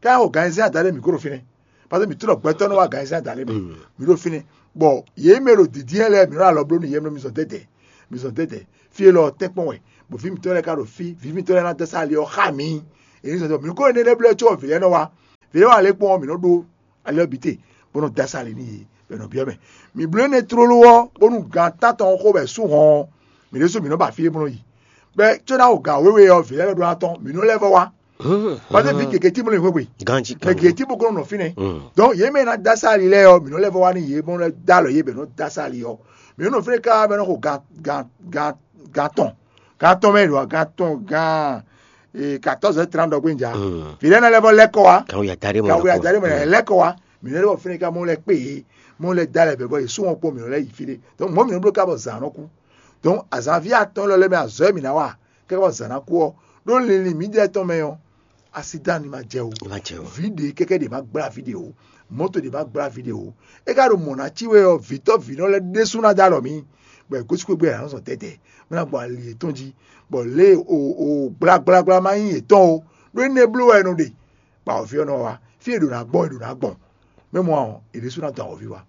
káká xo gan ayizɛ́n adaɖé mǐ kó ɖo fínɛ́. Pase mǐ tlɔ gbɛtɔ́ nɔ wá gan ayizɛ́n adaɖé mɛ, mǐ ɖo fínɛ́. Bɔ yě mɛ ɖo dǐndín lɛ́ɛ mǐ nɔ alɔ bló nú yě mɛ mi zɔn dɛ̌dɛ̌, mi zɔn dɛ̌dɛ̌. Fí élɔ́ ɔ́ tɛ́nkpɔ́n wɛ, bɔ vǐ mǐtɔn lɛ́ɛ ka ɖo fí, vǐ mǐtɔn lɛ́ɛ ná dó sá ali ɔ́ xá mǐ. È ní zɔn dɔ mǐ kó énɛ́ lɛ́ɛ blɛ́ có vǐ lɛ́ɛ nɔ wá. Vǐ lɛ́ɛ wá lě kpɔ́n ɔ́, mǐ nɔ ɖó ali ɔ́ bǐ te, bó nɔ dó asá ali n'i, bɔ è nɔ byɔ́ mɛ. Mǐ bló énɛ́ tlóló ɔ́, bónú gan tántɔn ɔ́ xo bɔ è sú hɔn ɔ́, mǐ ɖésú mǐ nɔ ba fí e bó nɔ yi. Bɔ có ná xo gan wěwe ɔ́, vǐ lɛ́ɛ lɔ ɖó ná tɔ́n, mǐ nɔ lɛ́ vɔ wá. Pase vǐ gěgé tí bó nɔ yi xwé gbe. Ganjí. Mɛ gěgé tí bó ko nɔ nɔ fínɛ́. Donc yě mɛ e ná dó asá ali lɛ́ɛ ɔ́, mǐ nɔ lɛ́ vɔ wá nú yě, bó nɔ lɛ́ dó alɔ yě bɔ è nɔ dó asá ali ɔ́. Mǐ nɔ nɔ fínɛ́ káká bɔ è nɔ xo gan gan gan gan tɔn, gan tɔn mɛ ɖo gan tɔn gan quatorze heures trente ɖɔ gbéjà. Vǐ lɛ́ɛ nɔ lɛ́ vɔ lɛ́ kɔ wá. Kan ya da ɖé mɔ. Kan ya da ɖé mɔ lɛ́ kɔ wá. Mǐ nɔ lɛ́ vɔ fínɛ́ ká mɔ lɛ́ kpé yě, mɔ lɛ́ da lɛ bɛ̌ bɔ yě sú wọn kpɔ́n mǐ nɔ lɛ́ yi fí ɖé. Donc mɔ̌ mǐ nɔ bló ká bɔ zǎn nɔ kú. Donc azǎnví atɔ́ɔ́n lɔ lɛ́ɛ mɛ azɔ̌ e mǐ ná wa káká bɔ zǎn ná kú ɔ́, ɖó linlin mǐdɛɛ tɔn mɛ ɔ́, asidan ní ma jɛ o. Ní ma jɛ o. Vǐ ɖě kɛ́kɛ́ ɖě ma gblá vǐ ɖě o. Mɔ̌to ɖě ma gblá vǐ ɖě o. É ka ɖo mɔ̌ ná cí wɛ ɔ́, vǐtɔ́ vǐnɔ lɛ́ɛ ɖésú ná dó alɔ mǐ, bɔ è gosín xwé gbe è nǎ zɔn dɛ̌dɛ̌, bó ná gbɔ ali yětɔn jí, bɔ lě e o o gblagblagbla ma nyí yětɔn o, ɖó énɛ́ bló wɛ è nɔ ɖe, bɔ awɔ̌vi ɔ́ nɔ wá. Fí e è ɖǒ ná gbɔn è ɖǒ ná gbɔn. Mɛ mɔ ɔ́, è ɖésú ná dɔn awɔ̌vi wá.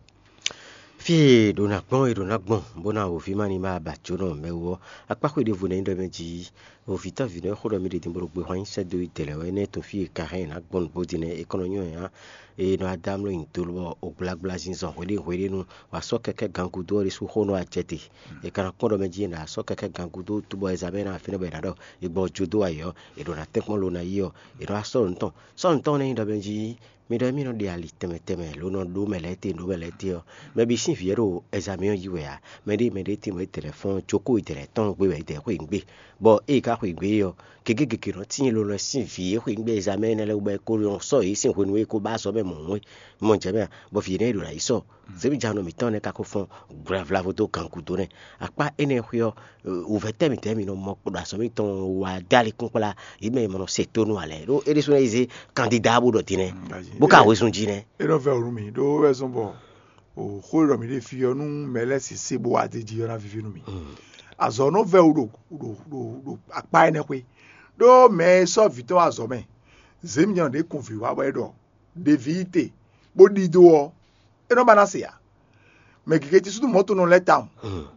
Fí e è ɖǒ ná gbɔn è ɖǒ ná gbɔn, bó ná awɔ̌vi ma ní ma ba jǒnɔ mɛ wú ɔ́, akpá xwé ɖěvo nɛ́ nyí ɖɔ mɛ jí. Vǐtɔ́ vǐnɔ e xó ɖɔ mì ɖe din bó ɖo gbe hwan nyi sɛ́ dó yi dɛ̌ lɛ́ɛ wɛ, énɛ́ tɔn fí e è ka hɛn ná gbɔn nǔgbó din nɛ́, é kɔn nɔ nyɔ́ nya. Eye nɔ wá dó amlɔ nyi do lɔ, o gblagbla zinzɔn hweɖéhweɖé nu, wǎ sɔ́ kɛkɛ́ gangudó ɔ́ ɖésú xó nɔ wá jɛ te. È ka ná kpɔ́n ɖɔ mɛ jí è nǎ sɔ́ kɛkɛ́ gangudó cóbɔ è zǎn mɛ ná fínɛ́ bɔ è nǎ ɖɔ è gbɔ jó dó wá yě ɔ́, è ɖǒ ná tɛ́nkpɔ́n lo ná yi ɔ́, è nɔ wá sɔ́ nǔ tɔn. Sɔ́ nǔ tɔn nɛ́ nyí ɖɔ mɛ jí mi ɖɔ émí nɔ ɖe ali tɛnmɛ tɛnmɛ lo nɔ ɖó mɛ lɛ́ɛ te, ɖó mɛ lɛ́ɛ te ɔ́, mɛ bǐ sín vǐ ɔ́ ɖo ɛzamɛ ɔ́ yi wɛ ǎ. Mɛ ɖé mɛ ɖé tín bɔ é dɛ lɛ̌ fɔ́n jókòó é dɛ lɛ̌ tɔ́n gbé wɛ é dɛ xweyǐgbe. Bɔ ée é ka xweyǐgbe é ɔ́, gěgé gěgé nɔ tíin lo lɔ sín vǐ e xweyǐgbe ɛzamɛ énɛ́ lɛ́ɛ wú bɔ é ko nɔ sɔ́ yě sín hwenu e é ko ba azɔ̌ mɛ mɔ̌hun é. Mɔ jɛ mɛ a? Bɔ vǐ énɛ́ e ɖo ná yi sɔ zěmijannɔ mǐtɔn nɛ́ ka ko fɔ́n gblavlavo dó gan gúdo nɛ́. Akpá énɛ́ xwé ɔ́, wǔvɛ́ tɛ́ mǐtɛn mǐ nɔ mɔ ɖo azɔ̌ mǐtɔn wá dó ali kúnkplá yě mɛ e ma nɔ se tónú ǎ lɛ́ɛ, ɖó é ɖésú ná yi zé kandida bó ɖɔ din nɛ́, bó ka wezun jí nɛ́. É nɔ vɛ́ wǔ nú mì, ɖó é wɛ zɔ́n bɔ xó e ɖɔ mǐ ɖe fí ɔ́, nú mɛ lɛ́ɛ sisí bó wá d'é jí ɔ́, ná víví nú mì. Azɔ̌ nɔ vɛ́ wú ɖo ɖo ɖo ɖo akpá énɛ́ xwé, ɖó mɛ e sɔ́ vǐ tɔn wá azɔ̌ mɛ, zěmijannɔ ɖě kun vǐ wá bɔ é ɖɔ ɖeví yi te, bó ɖidó ɔ́, é nɔ ba ná se ǎ. Mɛ gěgé cí súnnu mɔ̌ tɔn nɔ lɛ́ tawun.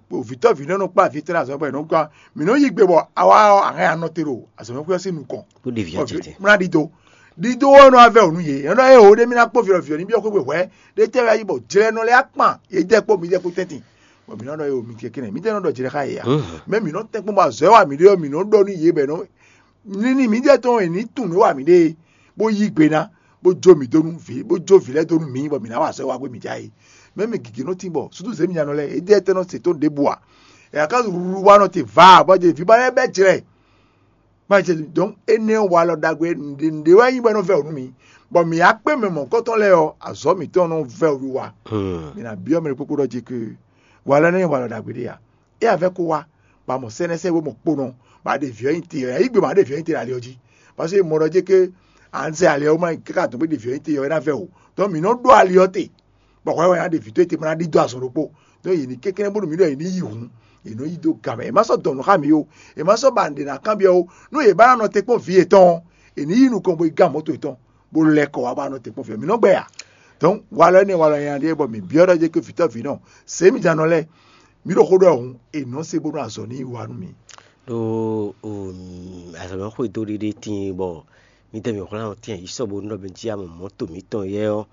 Bɔ vǐtɔ́ vǐ nɔ kplá vǐ tɔn azɔ̌ bɔ è nɔ gɔ́. Mǐ nɔ yí gbe bɔ awa ɔ́, a hɛn anɔ te ɖo azɔ̌mɛxwé ɔ́ sín nukɔn. Bó ɖe vǐ ɔ́ jɛ te. Mla ɖido. Ɖido ɔ́ nɔ wá vɛ́ wǔ nú yě. È nɔ ɖɔ éeǒ ɖé mì ná kpó vǐ ɔ́, vǐ ɔ́ ní byɔ́ xwé hwɛ̌. Ɖé tɛ́ wɛ yí bɔ jlɛ nɔ lɛ́ akpan yě jɛ kpó mi jɛ kpó tɛ́ntin. Bɔ mǐ nɔ ɖɔ éeǒ mi kɛkɛ́nɛ. Mǐ tɛ́ nɔ ɖɔ jlɛ xá yě a? Mɛ mǐ nɔ tɛ́n kpɔ́n bɔ azɔ̌ e wa mǐ ɖe ɔ́, mǐ nɔ ɖɔ nú yě bɔ è nɔ ní ní mǐdɛɛ tɔn e ní tunwun nǔ e wa mǐ ɖe é, bó yí gbe ná, bó jó mǐ dó nú vǐ, bó jó vǐ lɛ́ɛ dó nú mǐ, bɔ mǐ ná wa azɔ̌ e wa gbé mǐ ja é. Mɛ̌ mɛ gěgé nɔ tín bɔ súdú zěmijanɔ lɛ́ɛ, édɛɛ tɛ́ nɔ se tónú ɖěbǔ ǎ. È nǎ ká wlú wa nɔ te vǎ, bɔ jɛ vǐ ba lɛ́ɛ bɛ́ jlɛ. Má jɛ dɔn énɛ́ wa lɔ ɖagbe nǔɖé nǔɖé wɛ nyí bɔ é nɔ vɛ wǔ nú mǐ, bɔ mǐ akpé mɛ mɔ̌hunkɔtɔn lɛ́ɛ ɔ́, azɔ̌ mǐtɔn nɔ vɛ wǔ wa. Mǐ ná byɔ́ mɛ ɖokpó ɖɔ jí ke wa lɔ énɛ́ nyí wa lɔ ɖagbe ɖé ǎ. É a vɛ́ kó wá, bɔ a mɔ sɛ́nɛ́sɛ́ bó mɔ kponɔ, bɔ a ɖe vǐ ɔ́ nyi te ɔ́, yí gbe bɔ a ɖe vǐ ɔ́ nyi te ɖo ali ɔ́ jí. Parce que mɔ ɖɔ jɛ ke à ń zɛ ali ɔ́ ma káká dɔn bó ɖe vǐ ɔ́ nyi te ɔ́, é ná vɛ o. Donc mǐ nɔ ɖó ali ɔ́ te, bɔ hwɛ wɛ ná ɖe vǐ towe te bó ná ɖidó azɔn ɖokpó. Donc yě ní kɛnklɛ́n bónú mǐ ɖɔ yě ní yi hǔn, yě nɔ yi dó gan mɛ. È má sɔ́ dɔn nǔ xá mǐ ó, è má sɔ́ ba nǔɖé ná kanbyɔ́ ó. Nú yě ba ná nɔ te kpɔ́n vǐ yětɔn ɔ́, è ní yi nukɔn bó yi gán mɔ̌to yětɔn, bó lɛ́ kɔ wá bó ná nɔ te kpɔ́n vǐ ɔ́. Mǐ nɔ gbɛ a? Donc walɔ énɛ́ walɔ nyanya ɖíe bɔ mǐ byɔ́ ɖɔ jɛ ke vǐtɔ́ vǐ nɔ, sě mǐ jan nɔ lɛ́ɛ, mǐ ɖo xó ɖɔ hǔn, è nɔ se bónú azɔ̌ ní yi wá nú mǐ. Ɖó azɔ̌mɛxwedó ɖé ɖé tíin bɔ mǐdɛɛ mǐ hwlɛ́n atín yi sɔ́ bónú ɖɔ mɛ jí amɔ mɔ̌to mǐtɔn yɛ ɔ́,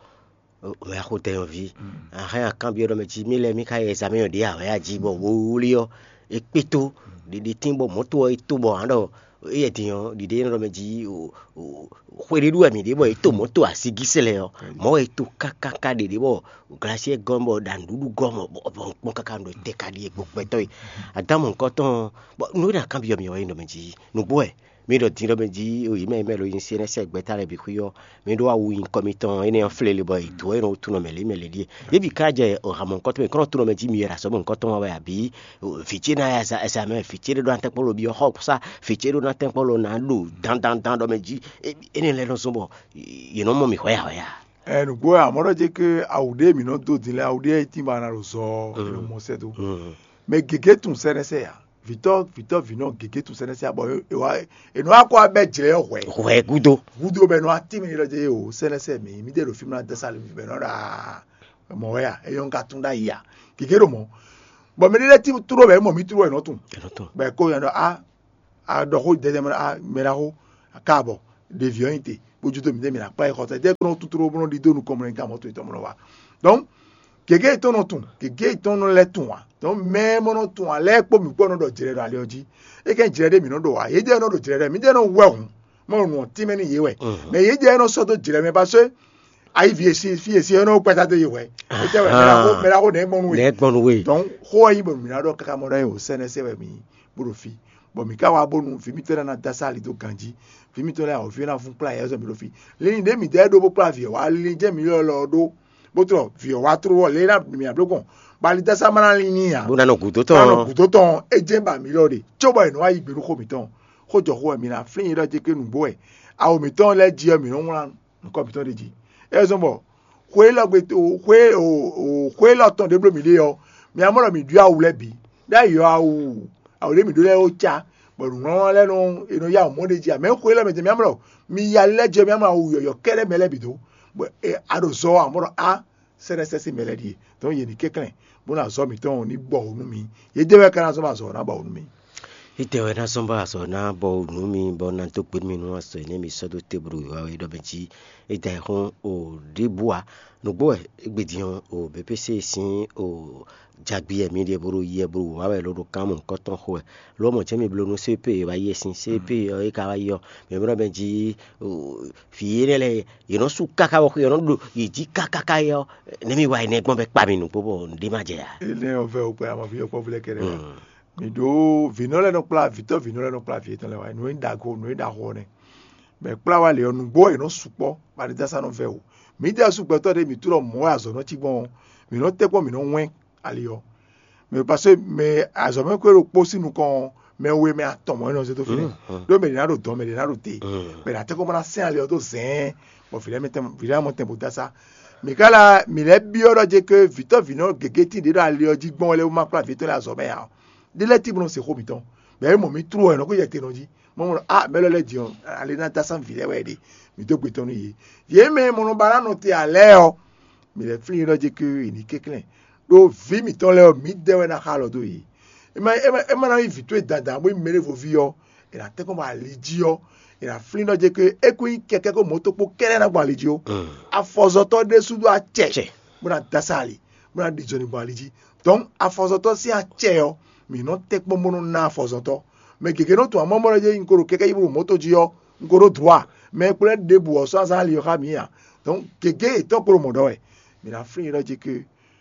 mɛ axotɛn ɔ́ ví. Ahɛn akanbyɔ́ ɖɔ mɛ jí mí lɛ́ɛ mí ka yi ɛzamɛ ɔ́ ɖě awɛ a jí bɔ wowlí ɔ́, é kpé tó ɖiɖi tín bɔ mɔ̌to ɔ́ é tó bɔ hǎn ɖɔ éyɛ́ din ɔ́ ɖiɖe énɛ́ ɖɔ mɛ jí xwe ɖé ɖu wɛ mǐ ɖe bɔ é to mɔ̌ to asigísɛ lɛ́ɛ ɔ́, mɔ̌ wɛ é to kákáká ɖeɖe bɔ glasiɛ gɔ́ bɔ ɖa nǔɖuɖu gɔ́ mɔ bɔ bɔ un kpɔ́n káká un ɖo tɛ ka ɖi e gbɔgbɛtɔ́ e. Adámu nukɔntɔn bɔ nú é ná kanbyɔ́ mì ɔ́ é nɔ mɛ jí nǔgbó wɛ. Mi ɖɔ din ɖɔ mɛ jí yǐ mɛ yǐ mɛ lo nyi sɛnɛsɛ gbɛ́ta lɛ́ɛ bǐ xwí ɔ́, mi ɖó awu nyi kɔmitɔn énɛ́ ɔ́ flélé bɔ è dǒ é nɔ tunɔ mɛ lě mɛ lě ɖíe. Yě bǐ ka jɛ hamɔ nukɔntɔn mɛ kɔnɔ tunɔ mɛ jí mi wɛ ɖo azɔ̌ mɛ nukɔntɔn wa wɛ abǐ vǐ ce ná ya za ɛsa mɛ vǐ ce ɖé ɖó ná tɛ́nkpɔ́n lo byɔ́ xɔ sá vǐ ce ɖó ná tɛ́nkpɔ́n lo ná ɖo dandandan ɖɔ mɛ jí énɛ́ lɛ́ɛ nɔ zɔ́n bɔ yě nɔ mɔ mì hwɛyǎhwɛyá. Ɛ nǔgbó wɛ amɔ̌ ɖɔ jɛ ke awu ɖé mǐ nɔ dó din lɛ́ɛ awu ɖé e tín ba ná ɖo zɔ ɔ́ è nɔ mɔ sɛ́ dó. Mɛ gěgé tunwun sɛ́nɛsɛ ǎ. Vǐtɔ́ vǐtɔ́ vǐnɔ gěgé tunwun sɛ́nɛsɛ ǎ bɔ è wá è nɔ wá kó wá bɛ́ jlɛ̌ ɔ́ hwɛ̌. Hwɛ gúdo. Gúdo bɔ è nɔ wá tín mì ɖɔ jɛ o sɛ́nɛsɛ mǐ mí ɖe ɖo fí mlá dɛ́ sá lě bɔ è nɔ ɖɔ aa mɔ̌ wɛ a é nyɔ́ un ka tún ɖ'ayǐ a gěgé ɖo mɔ̌. Bɔ mɛ ɖé lɛ́ɛ tín tló bɔ é mɔ mǐ tló wɛ è nɔ tunwun. È nɔ tunwun. Bɔ è ko nya ɖɔ a a ɖɔ xó dɛdɛ mɛ a mɛ ɖaxó a ka bɔ ɖevi ɔ́ nyi te bó jú dó mǐtɛn mǐ ná kplá yi xɔ tɛ jɛ kó nɔ tuturu bó nɔ ɖidó nukɔn mɔ nɔ yi gan mɔto yětɔn mɔ nɔ wa. Donc gěgé yětɔn nɔ tun gěgé yětɔn nɔ lɛ́ tun ǎ. Donc mɛ mɔ nɔ tun ǎ lɛ́ɛ kpó mǐ kpó nɔ ɖɔ jlɛ ɖo ali ɔ́ jí. É kɛn jlɛ ɖé mǐ nɔ ɖo ǎ yédɛɛ nɔ ɖo jlɛ ɖɛ mǐdɛɛ nɔ wɛ hǔn mɔ nǔ ɔ́ tínmɛ n'i yě wɛ. Mɛ yédɛɛ nɔ sɔ́ dó jlɛ mɛ parce que ayi vi e si fi e si ɔ́ nɔ kpɛta dó yi hwɛ. Étɛ́ wɛ mɛ ɖaxó mɛ ɖaxó nɛ̌ gbɔn nú we. Nɛ̌ gbɔn nú we? Donc xó ɔ́ nyí bɔ mǐ ná ɖɔ káká mɔ ɖɔ nyi o sɛ́nɛsɛ wɛ mǐ nyí bó ɖo fí, bɔ mǐ ka wá bónú vǐ mítɔn lɛ́ɛ ná dó asá ali dó ganjí. Vǐ mítɔn lɛ́ɛ awǒvi ɔ́ ná vún kplá yɛ zɔn mǐ ɖo fí. Linlin ɖě mǐ dɛ́ ɖó bó kplá vǐ ɔ́ wá, linlin jɛ́n mǐ lɔ lɔ ɔ́ ɖó, bó tlɔ vǐ ɔ́ wá tló ɔ́ lě ná mǐ ná bló gbɔn. Bɔ ali dó asá ma ná lin n'i ǎ. Bó ná nɔ gǔdo tɔn. Ná nɔ gǔdo tɔn, é jɛ́n ba mǐ lɔ ɖe, có bɔ è nɔ wá yí gbe nú xó mǐtɔn. Xó jɔ xó wɛ mǐ ná flín nyi ɖɔ jɛ ké nǔgbó wɛ. Awo mǐtɔn lɛ́ɛ jí ɔ́, mǐ nɔ́ wlán nukɔn mǐtɔn ɖ'é jí. É zɔ́n bɔ xwé élɔ́ gbe xwé xwé élɔ́ tɔn ɖě bló mǐ ɖe ɔ́, mi ná mɔ ɖɔ mǐ ɖyɔ́ awu lɛ́ɛ bǐ. Ɖ'ayǐ ɔ́, awu awu ɖě mǐ ɖó lɛ́ɛ ó cá, bɔ nǔŋlɔ́nɔ lɛ́ɛ nɔ è nɔ yá awǔ mɔ ɖ'é jí ǎ. Mɛ xwé élɔ́ mɛ tɛn mi ná mɔ ɖɔ mi ya lɛ́ jɛ mi ná mɔ awu yɔ̌yɔ́ kɛ́ɖɛ́ mɛ lɛ́ɛ bǐ dó, bɔ a ɖo zɔ ɔ́, a mɔ ɖɔ á sɛ́ɖɛ́sɛ́ sín mɛ lɛ́ɛ ɖíe. Dɔ̌n yě ní kɛnklɛ́n bó ná zɔ́ mǐtɔn ní bɔ wǔ nú mi. Yědɛɛ wɛ ka ná zɔ́n bɔ azɔ̌ ɔ́ ná bɔ wǔ nú mi. Étɛ́ wɛ ná zɔ́n bɔ azɔ̌ ná bɔ nǔ mi bɔ ná dó gbe nú mi nú azɔ̌ énɛ́ mi sɔ́ dó te bó ɖo wǐwá wɛ ɖɔ mɛ jí é da ayǐ xɔ́n o ɖěbǔ ǎ. Nǔgbó wɛ égbé din ɔ́, o B P C sín o jagbi wɛ mi ɖe bó ɖo yi wɛ bó ɖo wǐwá wɛ ló ɖo kán mɔ nǔkɔntɔn xo wɛ. Ló mɔ jɛ́n mi bló nú C P wá yi wɛ sín C P ɔ́ é ka wá yi ɔ́, mɛ mɛ ɖɔ mɛ jí o vǐ énɛ́ lɛ́ɛ yě nɔ sú káká bɔ xwe yě nɔ ɖo yě jí kákáká é ɔ́, nɛ̌ mi wa énɛ́ gbɔn bɔ é kpa mi nǔgbó bɔ nǔɖé má jɛ ǎ. Énɛ́ ɔ́ vɛ wokpɛ ama vǐ yɔkpɔ́vú lɛ́ɛ kɛ́ɖɛ́ wá. Mǐ ɖó vǐnɔ lɛ́ɛ nɔ kplá vǐtɔ́ vǐnɔ lɛ́ɛ nɔ kplá vǐ yětɔn lɛ́ɛ wá nǔ e ɖagó nǔ e ɖaxó ɔ́ nɛ́. Bɔ è kplá wá lě ɔ́, nǔgbó wɛ è nɔ sukpɔ́, bɔ aɖidásá nɔ vɛ wǔ. Mǐdɛɛ sú gbɛtɔ́ ɖé mǐ tlɔ mɔ̌ wɛ azɔ̌ nɔ cí gbɔn ɔ́, mǐ nɔ tɛ́nkpɔ́n mǐ nɔ wɛ́n ali ɔ́. Mɛ parce que mɛ azɔ̌mɛxwé ɖokpó sín nukɔn ɔ́, mɛ we mɛ atɔn mɔ̌ é nɔ zé dó fínɛ́. Ɖó mɛ ɖě ná ɖo dɔ̌n, mɛ ɖě ná ɖo te. Mɛ ɖě ná tɛ́nkpɔ́n bó ná sɛ́n ali ɔ́ dó zɛ̌ɛ́n, bɔ vǐ lɛ́ɛ mɛ tɛn vǐ lɛ́ɛ mɔ tɛn bó dó asá. Mǐ ka la mǐ lɛ́ byɔ́ ɖɔ jɛ ke vǐtɔ́ vǐnɔ gěgé tíin ɖě ɖo ali ɔ́ jí gbɔn wɛ lɛ́ɛ wú ma kplá vǐ tɔn lɛ́ɛ azɔ̌ mɛ ǎ. Ɖé lɛ́ɛ tíbɔ́ nɔ se xó mǐtɔn, bɔ é mɔ mǐ tlú wɛ nɔ xó jɛ te nɔ jí. Mɔ mɔ a mɛ lɔ lɛ́ɛ din ɔ́, ali ná dó asán vǐ lɛ́ɛ wɛ ɖe, mǐ dó gbe tɔn nú yě. Yě mɛ e mɔ nɔ ba ná nɔ te ǎ lɛ́ɛ ɔ́, mǐ lɛ́ flín yě ɖɔ jɛ ke è ní kɛnklɛ́n Ɖó vǐ mǐtɔn lɛ́ɛ ɔ́, mǐdɛɛ wɛ ná xa alɔ dó yě. É ma é ma é ma ná nyí vǐ towe dandan bó nyí mɛɖěvo ví ɔ́, è nǎ tɛ́nkpɔ́n bɔ ali jí ɔ́, è nǎ flín ɖɔ jɛ ke é kún nyí kɛkɛ́ kó mɔ̌to kpó kɛ́ɖɛ́ ná gbɔn ali jí ó. Afɔzɔtɔ́ ɖésú ɖó acɛ bó ná dó asá ali, bó ná ɖi zɔnlin gbɔn ali jí. Dɔ̌n afɔzɔtɔ́ sín acɛ ɔ́, mǐ nɔ tɛ́nkpɔ́n bó nɔ ná afɔzɔtɔ́. Mɛ gěgé nɔ tunwun amɔ́ mɔ ɖɔ jɛ un ko ɖo kɛkɛ́ yí bó ɖo mɔ̌to jí ɔ́, un ko ɖó dwǎ. Mɛ e kplɔ́n ɖěbǔ ɔ́ sɔ́ azán ali ɔ́ xá mǐ ǎ. Dɔ̌n gěgé yětɔn ko ɖo mɔ̌ ɖɔ wɛ. Mǐ ná flín yě ɖɔ jí ke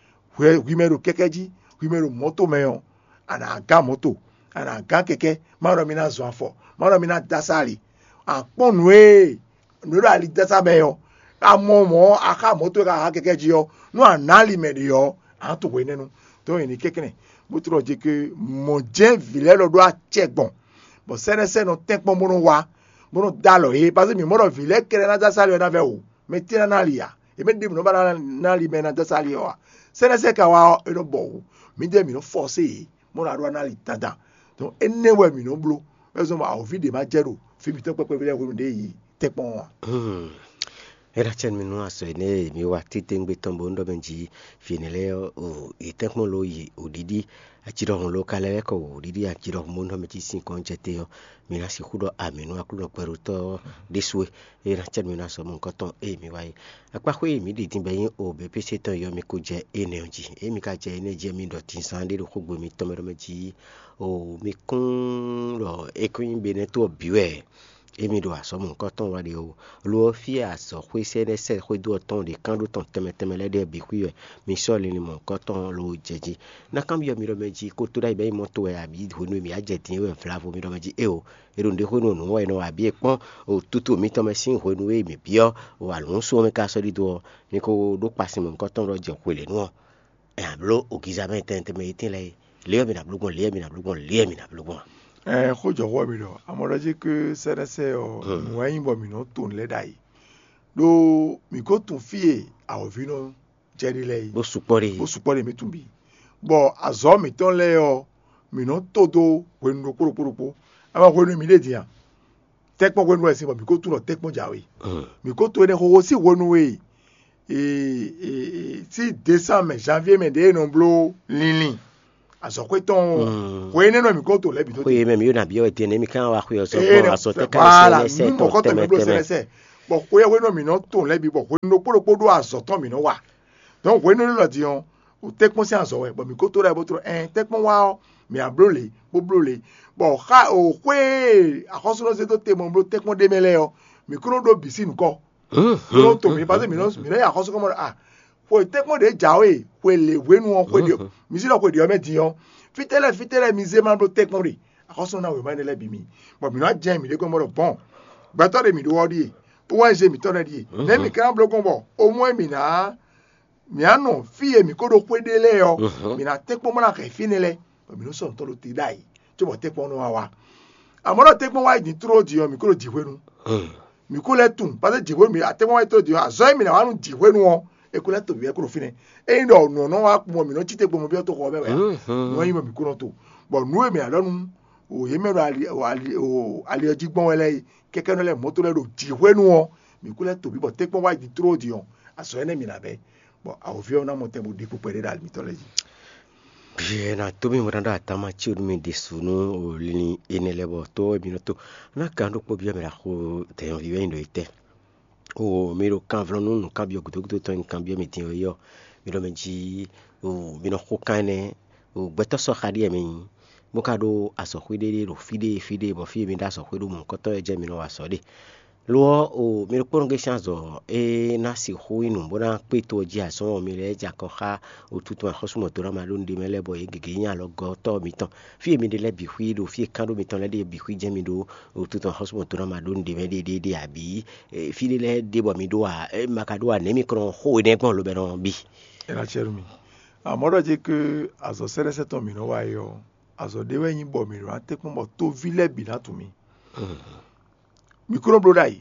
hwɛ hwi mɛ ɖo kɛkɛ́ jí, hwi mɛ ɖo mɔ̌to mɛ ɔ́, a nǎ gán mɔ̌to, a nǎ gán kɛkɛ́, má ɖɔ mi ná zɔn afɔ, má ɖɔ mi ná dó asá ali. A kpɔ́n nǔ e nǔ e ɖo ali dó asá mɛ ɔ́, a mɔ mɔ̌ a xá mɔ̌to e ka xá kɛkɛ́ jí ɔ́, nú a nǎ ali mɛ ɖě ɔ́, a nǎ to hwenɛ́nu. Tɔ́ nyi ní kɛnklɛ́n, bó tlɔ́ jí ke mɔ̌ jɛ́n vǐ lɛ́ɛ lɔ ɖó acɛ gbɔn, bɔ sɛ́nɛ́sɛ́ nɔ tɛ́nkpɔ́n bó nɔ wá, bó nɔ dó alɔ yě, paseke mǐ mɔ ɖɔ vǐ lɛ́ɛ kɛ́ɖɛ́ ná dó asá ali ɔ́ ná vɛ́ wǔ. Mɛ tɛ́ ná ná ali ǎ? È mɛ ɖěbǔ nɔ ba ná ná ali mɛ e ná dó asá ali ɔ́ ǎ. Sɛ́nɛ́sɛ́ ka wá ɔ́, é nɔ bɔ wǔ. Mǐdɛɛ mǐ nɔ fɔ́sé yě, bó ná ɖó ná ali dandan. Dɔn énɛ́ wɛ mǐ nɔ bló. É zɔ́n bɔ awǒvi ɖě ma jɛ ɖo fí mǐtɔn kpɛkpɛví lɛ́ɛ hwenu ɖě yi tɛ́nkpɔ́n ɔ́ ǎ. É ná cɛ́ nú mi nú azɔ̌ énɛ́ e mi wa titewungbe tɔn bó nɔ ɖɔ mɛ jí vǐ énɛ́ lɛ́ɛ ɔ́, o yě tɛ́nkpɔ́n ló yi wǒɖiɖi, aci ɖɔhun ló ka lɛ́ kɔ wǒɖiɖi, aci ɖɔhun bó nɔ mɛ cí sin kɔn jɛ te ɔ́, mi ná sixú ɖɔ amǐ nú Aklúnɔ kpɛɖotɔ́ ɔ́ ɖésú é. É ná cɛ́ nú mi nú azɔ̌ mɔ̌hunkɔtɔn e mi wa é. Akpáxwé e mǐ ɖi din bɔ é nyí o B P C tɔn yɔ mi ko jɛ énɛ́ ɔ́ jí. Ée mi ka jɛ énɛ́ jí ɔ́, mi ɖɔ tinzán ɖé ɖo xógbe mitɔn mɛ ɖɔ mɛ jí o mi kún ɖɔ é kún nyí Benɛ́to ɔ́ bǐ wɛ émi ɖo azɔ̌ mɔ̌hunkɔtɔn wa ɖe ó. Lo ɔ́, fí e azɔ̌xwé sɛ́nɛ́ sɛ́ xwédo ɔ́ tɔn ɖe kán ɖó tɔn tɛnmɛ tɛnmɛ lɛ́ɛ ɖe ɔ́ bǐ xwí wɛ mi sɔ́ linlin mɔ̌hunkɔtɔn ló jɛ jí. Ná kanbyɔ́ mi ɖɔ mɛ jí kótóɖó ayǐ bɔ é nyí mɔ́ to wɛ abǐ hwenu e mǐ wá jɛ din é wɛ vla vo mi ɖɔ mɛ jí éeǒ. È ɖo nǔɖé hwenu nǔ wɛ è nɔ wa abǐ e kpɔ́n o tutu mǐtɔn mɛ sín hwenu e mǐ byɔ́ o alǔunsu ɔ́ mɛ ka sɔ́ ɖidó ɔ́, mi ko ɖó kpasin mɔ̌hunkɔtɔn ɖɔ jɛ hwelěnu ɔ́, ɛ nǎ bló ogiza mɛ tɛnmɛ tɛnmɛ e tɛ́n lɛ́ɛ é. Lě ɔ́ mi nǎ bló gbɔn, lě ɔ́ mi nǎ bló gbɔn, lě ɔ́ mi nǎ bló gbɔn. Ɛɛ xó jɔxɔ wɛ mi ɖɔ amɔɖɔjé ke sɛ́nɛsɛ ɔ́ nǔ wɛ nyí bɔ mǐ nɔ to nǔ lɛ́ɛ ɖ'ayǐ ɖó mǐ ko tunwun fí e awɔ̌ví nɔ jɛ ɖe lɛ́ɛ é. Bó sukpɔ́ ɖe. Bó sukpɔ́ ɖe mǐ tunwun bǐ. Bɔ azɔ̌ mǐtɔn lɛ́ɛ ɔ́, mǐ nɔ to dó hwenu ɖokpó ɖokpó ɖokpó. Ama hwenu e mǐ ɖe din a? Tɛ́nkpɔ́n hwenu wɛ sin bɔ mǐ ko tunwun ɖɔ tɛ́nkpɔ́n jǎwe. Mǐ ko to énɛ́ xóxó sín hwenu e e, e, e, sín désanmɛ, janvier mɛ ɖě e nɔ bló linlin azɔ̌xwé tɔn o. Hwe énɛ́ nɔ mǐ ko to lɛ́ɛ bǐ tó. Xwe mɛ mi yóò nǎ byɔ́ wɛ din nɛ́ mi ká wá xwe ɔ́ sɔ́ gbɔn azɔ tɛ́ ká voilà sɛnɛsɛ nu tɔn mɔkɔ tɔn tɛnmɛ mǐ bló tɛnmɛ. Sɛnɛsɛ. Bɔ xwe ɔ́ hwenu mǐ nɔ to lɛ́ɛ bǐ bɔ hwenu ɖokpó ɖokpó ɖó azɔ̌ tɔn mǐ nɔ wa. Dɔn hwenu élɔ́ din ɔ́, o tɛ́nkpɔ́n sín azɔ̌ wɛ bɔ mǐ ko to ɖɔ bó tlɔ ɛn tɛ́nkpɔ́n wá ɔ́, mǐ á bló lě bó bló lě. Bɔ xa o xwé e axɔ́súɖɔ zé dó te mɔ bló tɛ́nkpɔ́n ɖé mɛ lɛ́ɛ ɔ́, mǐ kún nɔ ɖó bǐ sín nǔkɔ. Nɔ to mǐ paseke mǐ nɔ mǐ nɔ yi axɔ́súkɔmɔ ɖɔ a xwe tɛ́nkpɔ́n ɖě jǎwe xwe lě hwenu ɔ́ xwe ɖě mǐ sí ɖɔ xwe ɖě ɔ́ mɛ din ɔ́, fítɛ́ lɛ́ɛ fítɛ́ lɛ́ɛ mi zé ma bló tɛ́nkpɔ́n ɖe axɔ́súɖɔ ná wěma énɛ́ lɛ́ɛ bǐ mi. Bɔ mǐ nɔ jɛ mǐ ɖě kɔn bɔ ɖɔ bɔn gbɛtɔ́ ɖe mǐ ɖó ɔ́ ɖíe, O N G mǐtɔn lɛ́ɛ ɖíe, nɛ̌ mǐ ka ná bló gbɔn bɔ omɔ́ e mǐ ná mǐ á nɔ fí e mǐ ko ɖo xwé ɖe lɛ́ɛ ɔ́, mǐ ná tɛ́nkpɔ́n bó ná hɛn fínɛ́ lɛ́ɛ, bɔ mǐ nɔ sɔ́ nǔ tɔn ɖo te ɖ'ayǐ, cóbɔ tɛ́nkpɔ́n nɔ wá wá. Amɔ̌ ɖɔ tɛ́nkpɔ́n wá yi din tló din ɔ́, mǐ ko ɖo jǐ hwenu. Mǐ ko lɛ́ tunwun, paseke jǐ hwenu mǐ atɛ́nkpɔ́n wá yi tló din ɔ́, azɔ̌ e mǐ ná wá nú jǐ hwenu ɔ́, è ko lɛ́ to mǐ wɛ ko ɖo fínɛ́. Ényí ɖɔ nǔ ɔ́ nɔ wá kpɔ́n mǐ nɔ cí te gbɔmɔ byɔ́ toxo ɔ́ mɛ wɛ ǎ. Nǔ ɔ́ nyí bɔ mǐ ko nɔ to. Bɔ nǔ e mǐ ná ɖɔ nú o yě mɛ ɖo ali o ali o ali ɔ́ jí gbɔn wɛ lɛ́ɛ é, kɛkɛ́nɔ lɛ́ɛ mɔ̌to lɛ́ɛ ɖo jǐ hwenu ɔ́, mǐ ko lɛ́ to bǐ bɔ tɛ́nkpɔ́n wá yi din tló din ɔ́, azɔ̌ énɛ́ mǐ ná bɛ́. Bɔ awǒvi ɔ́ ná mɔ tɛn bó ɖi kpukpɛ ɖé ɖo ali mǐtɔn lɛ́ɛ jí. Bíyɛ ná dó mì wlán ɖó atama cí nú mi ɖésú nú linlin énɛ́ lɛ́ɛ bɔ tó wɛ mi nɔ tó. Ná gǎn ɖokpó byɔ́ mɛ ɖo axo dɛ̌nyɔ́ví wɛ nyí ɖo étɛ́? O mi ɖo kanvlɔ́ nú nǔkanbyɔ́ gǔdo gúdo tɔn e un kanbyɔ́ mi din ɔ́ é ɔ́, mi ɖɔ mɛ jí o mi nɔ xo kan énɛ́ o gbɛtɔ́ sɔ́ xa ɖíe mɛ nyí, bó ka ɖó azɔ̌xwé ɖé ɖo fí ɖé fí ɖé bɔ fí e mi ɖó azɔ̌xwé ɖó mɔ̌hunkɔtɔn wɛ jɛ mi nɔ wa azɔ̌ ɖe. Lo ɔ́, o mi ɖokpónɔ gɛ́ sín azɔ̌ e ná sixú nyí nǔ bó ná kpé to ɔ́ jí azɔn ɔ́, mi lɛ́ jɛ akɔ xá otuntun axɔ́súmɔdónámaɖónuɖe mɛ lɛ́ɛ bɔ yě gěgé nyí alɔgɔ́tɔ́ mitɔn. Fí e mi ɖe lɛ́ɛ bǐ xwí ɖo fí e kán ɖó mitɔn lɛ́ɛ ɖe bǐ xwí jɛ́n mi ɖó otuntun axɔ́súmɔdónámaɖónuɖe mɛ ɖéeɖéeɖé abǐ fí ɖé lɛ́ɛ ɖe bɔ mi ɖó ǎ, ma ka ɖó ǎ, nɛ̌ mi kɔn xó énɛ́ gbɔn lobɛ́nɔ bǐ? É ná cɛ nú mi. Amɔ̌ ɖɔ ce ke azɔ̌ sɛ́ɖɛ́sɛ́ tɔn mǐ nɔ wa é ɔ́, azɔ̌ ɖé wɛ nyí bɔ mǐ ɖó ná tɛ́nkpɔ́n bɔ tóví lɛ́ɛ bǐ ná tunwun mì. Mǐ kúnɔ bló ɖ'ayǐ.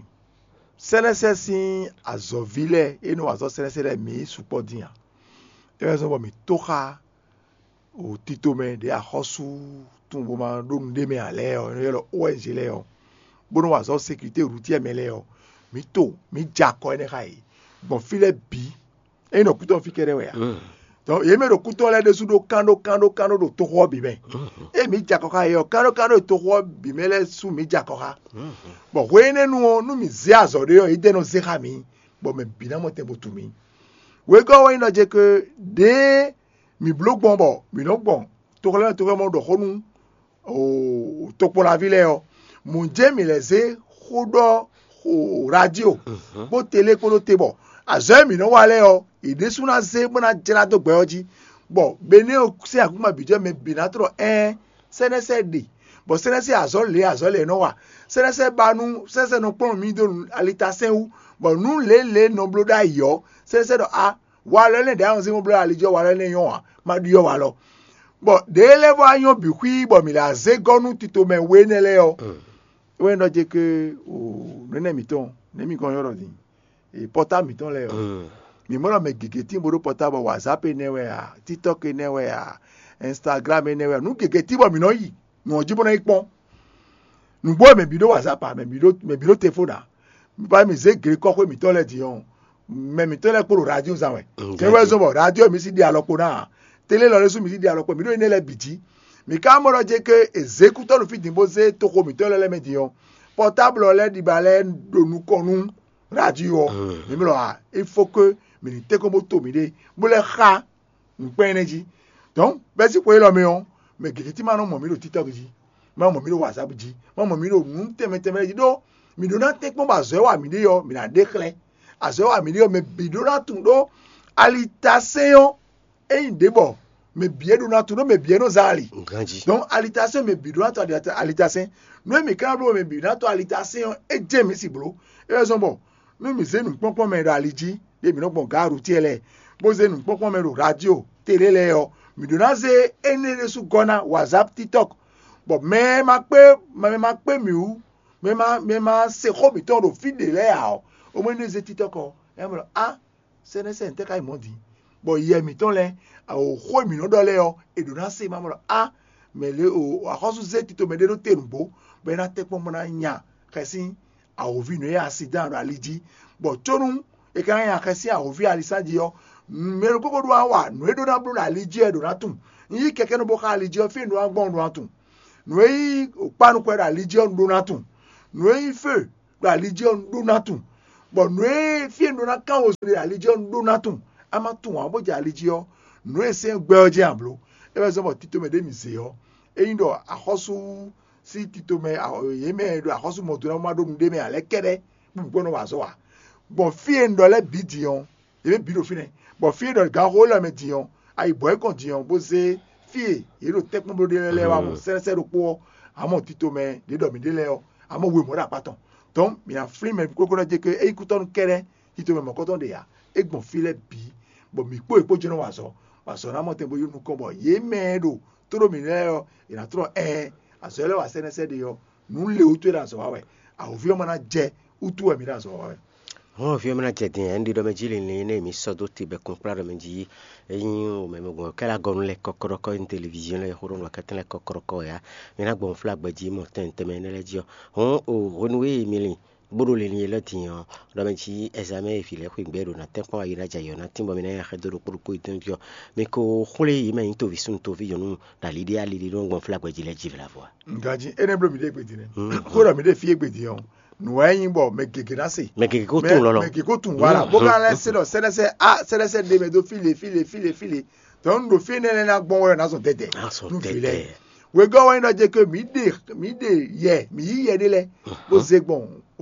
Sɛ́nɛ́sɛ́ sín azɔ̌ví lɛ́ɛ e nɔ wa azɔ̌ sɛ́nɛ́sɛ́ lɛ́ɛ mǐ sukpɔ́ dín ǎ. É wɛ zɔ́n bɔ mǐ tó xá o tito mɛ ɖě axɔ́sú tunwun bó ma ɖó nǔɖé mɛ ǎ lɛ́ɛ ɔ́, é nɔ ylɔ́ O N G lɛ́ɛ ɔ́, bó nɔ́ wa azɔ̌ sécurité routière mɛ lɛ́ɛ ɔ́, mǐ to mǐ jɛ akɔ énɛ́ xá yě gbɔn fí lɛ́ɛ bǐ. É nyí ɖɔ kútɔ́ fí kɛ́ɖɛ́ wɛ ǎ. Donc yě mɛ ɖo kútɔ́ lɛ́ɛ ɖésú ɖó kán ɖó kán ɖó kán ɖó ɖo toxo ɔ́ bǐ mɛ. Ée mǐ jɛ akɔ xá yɛ ɔ́, kán ɖó kán ɖó ɖo toxo ɔ́ bǐ mɛ lɛ́ɛ sú mǐ jɛ akɔ xá. Bɔ hwenu énɛ́ nu ɔ́, nú mǐ zé azɔ̌ ɖé ɔ́, édɛ́ nɔ zé xá mǐ, bɔ mɛ bǐ ná mɔ tɛn bo tunwun mǐ. Wegɔ́ ɔ́ wɛ nyí ɖɔ ce ke ɖěe mǐ bló gbɔn bɔ mǐ nɔ́ gbɔn toxo lɛ́ɛ mɛ toxo lɛ́ɛ mɛ ɖɔ xó nú tokpɔnlaví lɛ́ɛ ɔ́, mɔ̌ jɛ́n mǐ lɛ́ zé xó ɖɔ xo radio kpó tele kpódó te bɔ azɔ̌ e mǐ nɔ wa lɛ́ɛ ɔ́, yě ɖésú ná zé bó ná jlá dó gbɛ ɔ́ jí, bɔ Benɛ́ɛ sín akúma bǐ jɛ mɛ bǐ ná tlɔ ɛ́n sɛ́nɛ́sɛ́ ɖe, bɔ sɛ́nɛ́sɛ́ azɔ̌ lě azɔ̌ lě e nɔ wa, sɛ́nɛ́sɛ́ ba nú sɛ́nɛ́sɛ́ nɔ kplɔ́n mì dó alitasɛn wú, bɔ nǔ lě lě nɔ bló ɖ'ayǐ ɔ́, sɛ́nɛ́sɛ́ ɖɔ a walɔ énɛ́ ɖě a nɔ zé bó bló ali jí ɔ́, walɔ énɛ́ nyɔ́ ǎ, ma ɖyɔ́ walɔ. Bɔ ɖěe lɛ́ vɔ wá nyɔ́ bǐ xwí bɔ mǐ lɛ́ zé gɔ́ nú tito mɛ we énɛ́ lɛ́ɛ ɔ́, é wɛ nyí ɖɔ jɛ ke o nɛnɛ mǐtɔn nɛ̌ mi gɔn nyɔ́ ɖɔ din e pɔ́táb mǐtɔn lɛ́ɛ ɔ́, mǐ mɔ ɖɔ mɛ gěgé tín bó ɖó pɔ́táb, bɔ wazap énɛ́ wɛ a, tiktɔk énɛ́ wɛ a, instagram énɛ́ wɛ a, nǔ gěgé tín bɔ mǐ nɔ yi nǔ ɔ́ jí bó ná yi kpɔ́n. Nǔgbó wɛ mɛ bǐ ɖó wazap a, mɛ bǐ ɖó mɛ bǐ ɖó tefónǎ, bá mǐ zé glekɔ́xwé mǐtɔn lɛ́ɛ din ɔ́, mɛ mǐtɔn lɛ́ɛ kpo ɖo radio zán wɛ. Tɛ́ wɛ zɔn bɔ radio mi sí ɖe alɔ kpo ná ǎ. Télé lɔ lɛ́ɛ sú mi sí ɖe alɔ kpo, mǐ ɖo énɛ́ lɛ́ɛ bǐ jí. Mǐ ka mɔ ɖɔ jɛ ke è zě kútɔ́ ɖo fí din bó zé toxo mǐtɔn lɛ́ɛ lɛ́ɛ mɛ din ɔ́, pɔtáblɔ lɛ́ɛ ɖiba lɛ́ɛ ɖo nukɔn nú radio ɔ́. Mǐ mlɔ ǎ, il faut que mǐ ní tɛ́nkɔ́n bó to mǐɖée bó lɛ́ xá nǔkpɛ́n énɛ́ jí. Donc bɛ́sín xwe élɔ́ mɛ ɔ́, mɛ gěgé tí ma nɔ mɔ mǐ ɖo TikTok jí, ma mɔ mǐ ɖo WhatsApp jí, ma mɔ mǐ ɖo nǔ tɛnmɛ tɛnmɛ jí ɖó mǐ ɖó ná tɛ́nkpɔ́n bɔ azɔ̌ e wa mǐ ɖe ɔ́, mǐ ná ɖe xlɛ́. Azɔ̌ e wa mǐ ɖe ɔ́, mɛ bǐ ɖó ná tunwun ɖó alitasɛ́n ɔ́, é nyí ɖě bɔ mɛ bǐ e ɖó ná tunwun ɖó mɛ bǐ e nɔ zán ali. Donc alitasɛ́n mɛ bǐ ɖó ná to alitasɛ́n. Nú e mǐ ka ná bló mɛ bǐ ná to alitasɛ́n ɔ́, é jɛ́n mǐ si bló. É wɛ zɔ́n bɔ nú mǐ zé nǔkpɔ́kpɔ́ mɛ ɖo ali jí, ɖě mǐ nɔ gbɔn gǎrutiɛ lɛ́ɛ, bó zé nǔkpɔ́kpɔ́ mɛ ɖo radio, télé lɛ́ɛ ɔ́, mǐ ɖó ná zé énɛ́ ɖésú gɔ́ ná WhatsApp, TikTok, bɔ mɛ e ma kpé mɛ e ma kpé mǐ wú, mɛ e ma mɛ e ma se xó mǐtɔn ɖo fí ɖě lɛ́ɛ ǎ ɔ́, é mɔ énɛ́ zé TikTok ɔ́, é mɔ ɖɔ á sɛ́nɛ́sɛ́n tɛ́ ka nyí mɔ̌ din, bɔ yɛ mǐtɔn lɛ́ɛ, xó e mǐ nɔ ɖɔ lɛ́ɛ ɔ́, è ɖǒ ná se ma mɔ ɖɔ á mɛ lě o axɔ́sú zé tito mɛ ɖé ɖó te nǔgbó, bɔ é ná tɛ́nkpɔ́n bó ná nya xɛsín awǒvi nǔ e asidán ɖo ali jí, bɔ có nú è ka nya xɛsín awǒvi alisán jí ɔ́, mɛ ɖokpó ko ɖó ná wa nǔ e ɖó ná bló ɖo ali jí ɔ́, è ɖǒ ná tunwun. Un yí kɛkɛ́nɔ bó xá ali jí ɔ́, fí e un ɖó ná gbɔn un ɖó ná tunwun. Nǔ e nyí kpánukɔ ɖo ali jí ɔ́, un ɖó ná tunwun. Nǔ e nyí fé ɖo ali jí ɔ́, un ɖó ná tunwun, bɔ nǔ e fí e un ɖó ná kán wezun ɖe ali jí ɔ́, un ɖó ná tunwun. A ma tunwun ǎ bó jɛ ali jí ɔ́, nǔ e sɛ́n gbɛ ɔ́ jɛ́n a blǒ. É wɛ zɔ́n bɔ tito mɛ ɖé mǐ zě ɔ́, ényí ɖɔ axɔ́sú sín tito mɛ yě mɛ e ɖo axɔ́sú mɔ do ná ma ɖó nǔɖé mɛ ǎ lɛ́ɛ kɛ́ɖɛ́ bó bǐ gbɔn nɔ wa azɔ̌ ǎ. Gbɔn fí e un ɖɔ lɛ́ɛ bǐ din ɔ́, yě mɛ bǐ ɖo fínɛ́, bɔ fí e ɖɔ ganxó élɔ́ mɛ din ɔ́, ayi bɔ̌ é kɔn din ɔ́, bó zé fí e yě ɖo tɛ́nkpɔ́n bló ɖe lɛ́ɛ wá mɔ sɛ́nɛ́sɛ́ ɖokpó ɔ́, amɔ tito mɛ ɖě ɖɔ mǐ ɖe lɛ́ɛ ɔ́, amɔ wěmɔ̌ ɖo akpá tɔn. Donc mǐ ná flín mɛ kókó ná jɛ ké ényí kútɔ́nú kɛ́ɖɛ́ tito mɛ mɔ̌kɔtɔn ɖe ǎ, é gbɔn fí lɛ́ɛ bǐ, bɔ mǐ kpó yě kpó jɛ́n nɔ wa azɔ̌, bɔ azɔ̌ ná mɔ tɛn bó yi nukɔn, bɔ yě mɛ e ɖo tló mǐ lɛ́ɛ ɔ́, è nǎ tlɔ́ ɛɛn azɔ̌ lɛ́ɛ wa sɛ́nɛ́sɛ́ ɖe ɔ́, nǔ le wútu é ɖo azɔ̌ wa wɛ, awǒvi ɔ́ ma ná jɛ wútu wɛ mǐ ɖo azɔ̌ wa wɛ. Hɔn ví ɔ́ mɛ ná jɛ din ɛn ɖiɖɔ mɛ jí linlin énɛ́ mǐ sɔ́ dó te bɛkun kplá ɖɔ mɛ jí ényí o mɛ mɛ gbɔn kɛ́ lɛ agɔnu lɛ kɔkɔɖɔkɔ yin téléviziɔn lɛ xó ɖo nɔ kɛtɛn lɛ kɔkɔɖɔkɔ ya mɛ ná gbɔn fúla gbɛ jí mɔ tɛn tɛmɛ énɛ́ lɛ jí ɔ́. Hɔn o hwenu e mi lin bó ɖo linlin élɔ́ din ɔ́, ɖɔ mɛ jí ɛzamɛ e vǐ lɛ́ɛ xwe gbɛ ɖo ná tɛ́nkpɔ́n ayi ná jɛ ayɔ ná tín bɔ mi ná nya xɛ dó ɖokpó ɖokpó yi dɔn jí ɔ́, mi ko xwlé yě mɛ nyí toví súnnu toví nyɔ̌nu ɖo ali ɖé ali ɖé nɔ gbɔn fúla gbɛ jí lɛ jí vla vɔ a? Nka jí énɛ́ bló mi ɖe gbedi nɛ. Xó ɖɔ mi ɖe fí e gbedi ɔ́, nǔ wɛ nyí bɔ mɛ gěgé ná se. Mɛ gěgé ko tunwun lɔlɔ. Mɛ gěgé ko tunwun wala bó ka lɛ́ se ɖɔ sɛ́nɛsɛ a sɛ́nɛsɛ ɖe mɛ dó fí le fí le fí le fí le. Tɔn un ɖo fí énɛ́ lɛ́ɛ ná gbɔn wɛ ná zɔn dɛdɛ. Nú vǐ lɛ́ɛ. Wegɔ́ wɛ nyí ɖɔ jɛ ke mǐ ɖe mǐ ɖe yɛ mǐ yí yɛ ɖé lɛ́ɛ bó zé gbɔn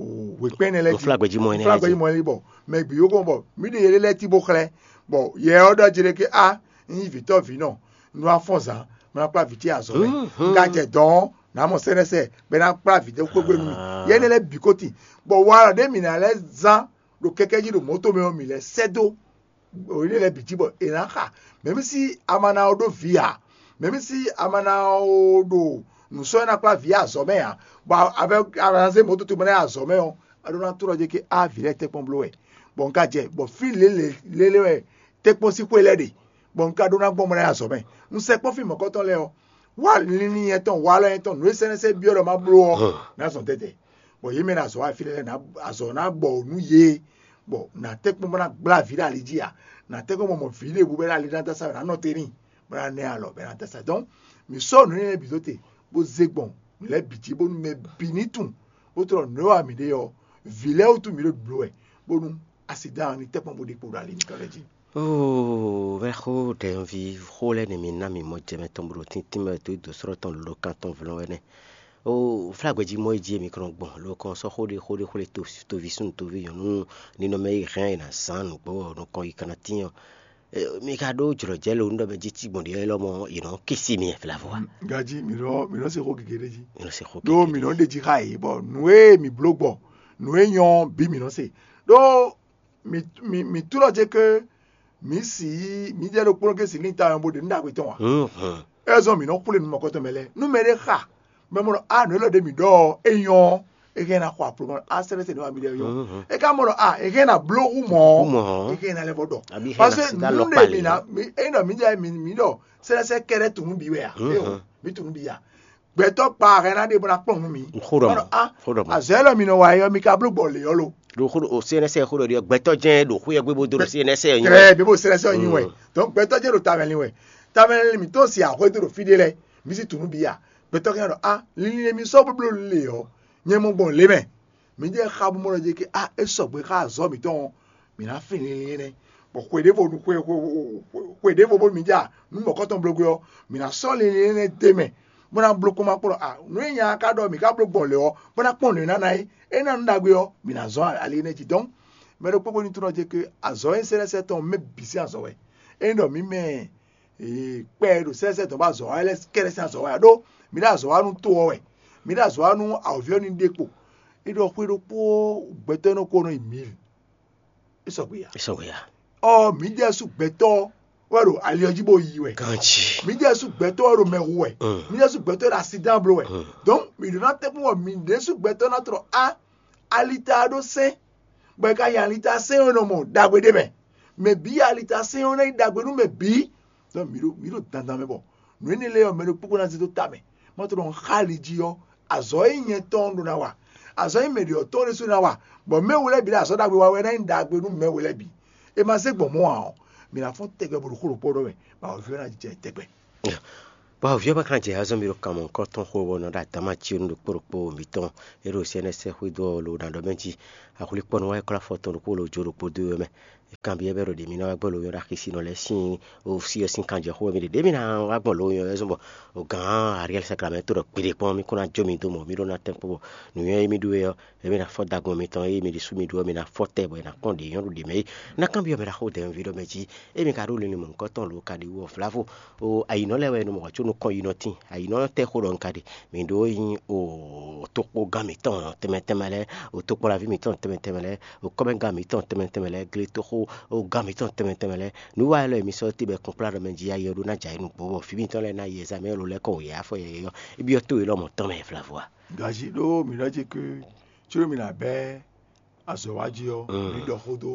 wěkpɛ́n énɛ́ lɛ́ɛ jí. Fúla gbɛ jí mɔ énɛ́ lɛ́ɛ jí. Bɔ mɛ bǐ yó gbɔn bɔ mǐ ɖe yɛ ɖé lɛ́ɛ tí bó xlɛ́, bɔ yɛ ɔ́ ɖɔ jí ɖé ké a un nyí vǐtɔ́ vǐ nɔ, un nɔ wá fɔ́n zǎn, un ná kplá vǐ ce azɔ̌ mɛ. Un ka jɛ dɔ̌n ɔ́, nǎ mɔ sɛ́nɛsɛ bɔ é ná kplá vǐ ɖé xwé gbé nú mì. Yɛ énɛ́ lɛ́ɛ bǐ ko tin, bɔ walɔ ɖé mǐ ná lɛ́ zán ɖo kɛkɛ́ jí ɖo mɔ̌to mɛ ɔ́, mǐ lɛ́ sɛ́ dó ɖo énɛ́ lɛ́ɛ bǐ jí bɔ è nǎ xa. Mɛ̌mísí a ma ná ɔ́ ɖó vǐ ǎ, mɛ̌mísí a ma ná ɔ́ ɖo nǔ sɔ́ é ná kplá vǐ azɔ̌ mɛ ǎ, bɔ a vɛ a ma ná zé mɔ̌to tɔn mɛ ná yi azɔ̌ mɛ ɔ́, a ɖó ná tlɔ́ jɛ ké á vǐ lɛ́ɛ tɛ́nkpɔ́n bló wɛ, bɔ un ka jɛ bɔ fí lě lě lélé wɛ tɛ́nkpɔ́n sín xwé lɛ́ɛ ɖe, bɔ un ka ɖó ná gbɔn mɔ ná yi azɔ̌ mɛ. Un sɛkpɔ́ fí mɔ̌kɔtɔn lɛ́ɛ ɔ́, wá linlin nyɛtɔn walɔ nyɛtɔn nǔ e sɛ́nɛ́sɛ́ byɔ́ ɖɔ má bló ɔ́, ná zɔn tɛ́tɛ́, bɔ yě mɛ ná azɔ̌ wá fí lɛ́ɛ ná azɔ̌ ná gbɔ nú yě. Bɔ nǎ tɛ́nkpɔ́n bó ná gblá vǐ ɖo ali jí a? Nǎ tɛ́nkpɔ́n bɔ mɔ vǐ ɖěbǔ bɔ é ɖo ali ná dó asá wɛ, nǎ nɔ te n'i, bó ná ná ɛ alɔ, bɔ é ná dó asá. Donc, mǐ sɔ́ nǔ énɛ́ lɛ́ɛ bǐ dó te, bó zé gbɔn nǔ lɛ́ɛ bǐ jí, bónú mɛ bǐ ní tunwun, bó tlɔ́ nǔ e wa mǐ ɖe ɔ́, vǐ lɛ́ɛ wútu mǐ ɖo blǒ wɛ, bónú asidán ɔ́ ní tɛ́nkpɔ́n bó ɖe kpo ɖo ali mitɔn lɛ́ɛ jí. Oo, vɛ́ xó ɖɛ̌nví xó lɛ́ɛ nɛ mi ná mì mɔ jɛ mɛ tɔn bó ɖo tíntín mɛ dó dǒ slɔ́ tɔn lǒ kan tɔn vlɔ́n wɛ nɛ́. Oo, flágbɛjí mɔ é jí e mi kɔn gbɔn lo kɔn sɔ́ xó ɖé xó ɖé xwlé toví súnnu toví nyɔ̌nu ninɔmɛ e hɛn è nǎ zán nǔgbó ɔ́ nukɔn yi kanna tín ɔ́. Mi ka ɖó jlɔ̌jɛ lo nú ɖɔ mɛ jí cí gbɔn ɖě lɔmɔ è nɔ kisi mi flavo a? Gají, mǐ nɔ mǐ nɔ se xó gěgé ɖé jí. Mi nɔ se xó ɖó gěgé mǐ nɔ ɖe jí xá yě, bɔ nǔ e mǐ bló gbɔ, nǔ e nyɔ́ ɔ́ bǐ mǐ nɔ se. Ɖó mǐ mǐ mǐ tunɔ ce ke mǐ si yí mǐ jɛ ɖokpónɔ ke si lín ta ɔ́ bó ɖe nǔ ɖagbe tɔn ǎ. Mhm. É zɔ́n mǐ nɔ xwlé nǔ mɔ̌kɔtɔn mɛ lɛ́ɛ. Nú mɛɖé xa bɔ é mɔ ɖɔ a nǔ élɔ́ ɖě mǐ ɖɔ ɔ́, é nyɔ́ ɔ́, é hɛn ná xɔ aplomɔ a sɛ́lɛ́ se nǔ wa mǐ ɖe ɔ́ nyɔ́. Mhm. É ka mɔ ɖɔ a é hɛn ná bló hú mɔ̌ Hú mɔ̌. É hɛn ná lɛ́ vɔ ɖɔ. Abí hɛn ná sida lɔ kpali. Ényí ɖɔ mǐ jɛ mǐ mǐ ɖɔ sɛ́lɛ́sɛ kɛ́ɖɛ́ tunú bǐ wɛ a? Mhm. Éo, mǐ tunú bǐ a. Gbɛtɔ́ kpa hɛn ná ɖe bó ná kplɔ́n nú mǐ. Xó ɖɔ mɔ. Xó ɖɔ mɔ. Azɔ̌ élɔ́ mi nɔ wa é ɔ́, mi ka bló gbɔ lě ɔ́ lo. Ɖo xó ɖo C N S xó ɖɔ ɖiɔ gbɛtɔ́ jɛ́n ɖo xó yɛ gbé bó dó ɖo C N S ɔ́ nyi wɛ. Trɛ, mi bo sɛ́lɛ́sɛ ɔ́ nyi wɛ. Donc gbɛtɔ́ jɛ́n ɖo tamɛ lin wɛ. Tamɛ lin mǐtɔn si axwé dó ɖo fí ɖé lɛ́ɛ, mǐ si tunú bǐ a? Gbɛtɔ́ ka ɖɔ a, linlin e mi sɔ́ bó bló lě ɔ́, nyɛ mɔ gbɔn lě mɛ. Mǐ jɛ xa bó mɔ ɖɔ jɛ ke a, é sɔgbe xá azɔ̌ mǐtɔn ɔ́, mǐ ná fin linlin énɛ́. Bɔ xwe ɖěvo xwe xwe xwe ɖěvo bónú mǐ ja nǔ mɔ̌kɔtɔn bló gbé ɔ́, mǐ ná sɔ́ linlin énɛ́ d'é mɛ, bó ná bló kpɔ́n ma kpɔ́n ɖɔ a, nǔ e nya ka ɖɔ mǐ ka bló gbɔn lě ɔ́, bó ná kpɔ́n nǔ e ná ná é, é ná nǔ ɖagbe ɔ́, mǐ ná zɔ́n ali énɛ́ jí. Donc mɛ ɖokpó ko ní tunɔ jɛ ke azɔ̌ e sɛ́lɛ́sɛ tɔn mɛ bǐ sín azɔ̌ wɛ. Ényí ɖɔ mǐ mɛ kpɛ e ɖo sɛ́sɛ dɔ̌n bɔ azɔ̌ wa lɛ́ɛ kɛ́ɖɛ́ sín azɔ̌ wa ɖó mǐ ɖo azɔ̌ wa nú to ɔ́ wɛ, mǐ ɖo azɔ̌ wa nú awǒvi ɔ́ ní ɖe kpo. É ɖɔ xwé ɖokpó gbɛtɔ́ nɔ ko nɔ yi mǐl. É sɔgbe ya. É sɔgbe ya. Ɔ, mǐ ɖésú gbɛtɔ́ wɛ ɖo ali ɔ́ jí bó yi wɛ. Ganji. Mǐ ɖésú gbɛtɔ́ wɛ ɖo mɛ hu wɛ. Mm. Mǐ ɖésú gbɛtɔ́ wɛ ɖo asidán bló wɛ. Mm. Donc mǐ ɖo ná tɛ́nkpɔ́n bɔ mǐ ɖésú gbɛtɔ́ ná tlɔ á alita ɖó sɛ́n, bɔ è ka nya alita sɛ́n ɔ́ nɔ mɔ ɖagbe ɖé mɛ. Mɛ bǐ alita sɛ́n ɔ́ ná nyí ɖagbe nú mɛ bǐ. Donc mǐ ɖo mǐ ɖo dandan mɛ bɔ nǔ énɛ́ lɛ́ɛ ɔ́, mɛ ɖokpó kpó ná zé dó ta mɛ. Má tlɔ xá ali jí ɔ́, azɔ̌ e nyɛ tɔn ɖó ná wa, azɔ̌ e mɛ ɖě ɔ́ tɔn ɖésú ná wa, bɔ mɛ wú lɛ́ɛ bǐ ɖo azɔ̌ ɖagbe wa wɛ ná nyí ɖagbe nú mɛ wú lɛ́ɛ bǐ. È ma zé gbɔn mɔ̌ ǎ ɔ́, mǐ ná fɔ́n tɛgbɛ bo ɖo xó ɖokpó ɖɔ mɛ, bɔ awǒvi ɔ́ ná jɛ tɛgbɛ. Bɔ awǒvi ɔ́ ma ka jɛ azɔ́ mì ɖo kan mɔ̌hunkɔtɔn xo ɔ́ nɔ ɖo adǎma cí ɔ́ nú ɖokpó ɖokpó mǐtɔn e ɖo sɛ́nɛ́ sɛ́ xwedó ɔ́ lo ná ɖɔ mɛ jí. Axwlikpɔ́nú wá yi klɔ́ afɔ tɔn ɖokpó lo jó ɖokpó dó ɔ́ mɛ. Kanbyɔ́ bɛ́ ɖo ɖě mì ná wá gbɔ lo nyɔ́ ɖo axisínɔ lɛ́ɛ sín osí ɔ́ sín kanjɛ xó wɛ mì ɖe ɖě mì ná wá gbɔn lo nyɔ́ wɛ zɔ́n bɔ gǎn Ariɛl Saklamɛ́ to ɖɔ gbeɖé kpɔ́n mì kó ná jó mi dó mɔ mì ɖó ná tɛ́nkpɔ́n bɔ nǔnywɛ́ e mì ɖó é ɔ́, émí ná fɔ dagun mitɔn, ée mi ɖésú mi ɖó ɔ́, mi ná fɔ tɛ bɔ è nǎ kpɔ́n ɖě nyɔ́ ɖo ɖě mɛ é. Ná kanbyɔ́ mɛ ɖaxó dɛ̌nvǐ ɖɔ mɛ jí, émi ka ɖó linlin mɔ̌hunkɔtɔn lo ka ɖi wú ɔ́, vlavo. O ayǐnɔ lɛ́ɛ wɛ è nɔ mɔ hwɛ̌ có nukɔn yi nɔ tíin. Ayǐnɔ tɛ́ xó ɖɔ un ka ɖe? Mǐ ɖó nyí o tokpɔ́gán mǐtɔn tɛnmɛ tɛnmɛ lɛ́ɛ, o tokpɔ́laví mǐtɔn tɛnmɛ tɛnmɛ lɛ́ɛ, o kɔ́mɛgán mǐtɔn tɛnmɛ tɛnmɛ lɛ́ɛ, gletoxógán mǐtɔn tɛnmɛ tɛnmɛ lɛ́ɛ. Nǔ wa élɔ́ e mi sɔ́ te bɔ è kplá ɖɔ mɛ jí ayé ɔ́ ɖó ná jɛ ayǐ nǔgbó bɔ vǐ mitɔn lɛ́ɛ ná yi ɛzamɛ lɔ lɛ́ɛ kɔ wǒ yá afɔ yɛyɛ́ ɔ́, é byɔ́ tó élɔ́ mɔ̌ tɔn mɛ vlavo a? Gají ɖó mǐ ɖɔ jí ké, có mǐ ná bɛ́ azɔ̌ wa jí ɔ́, mǐ ɖɔ xó dó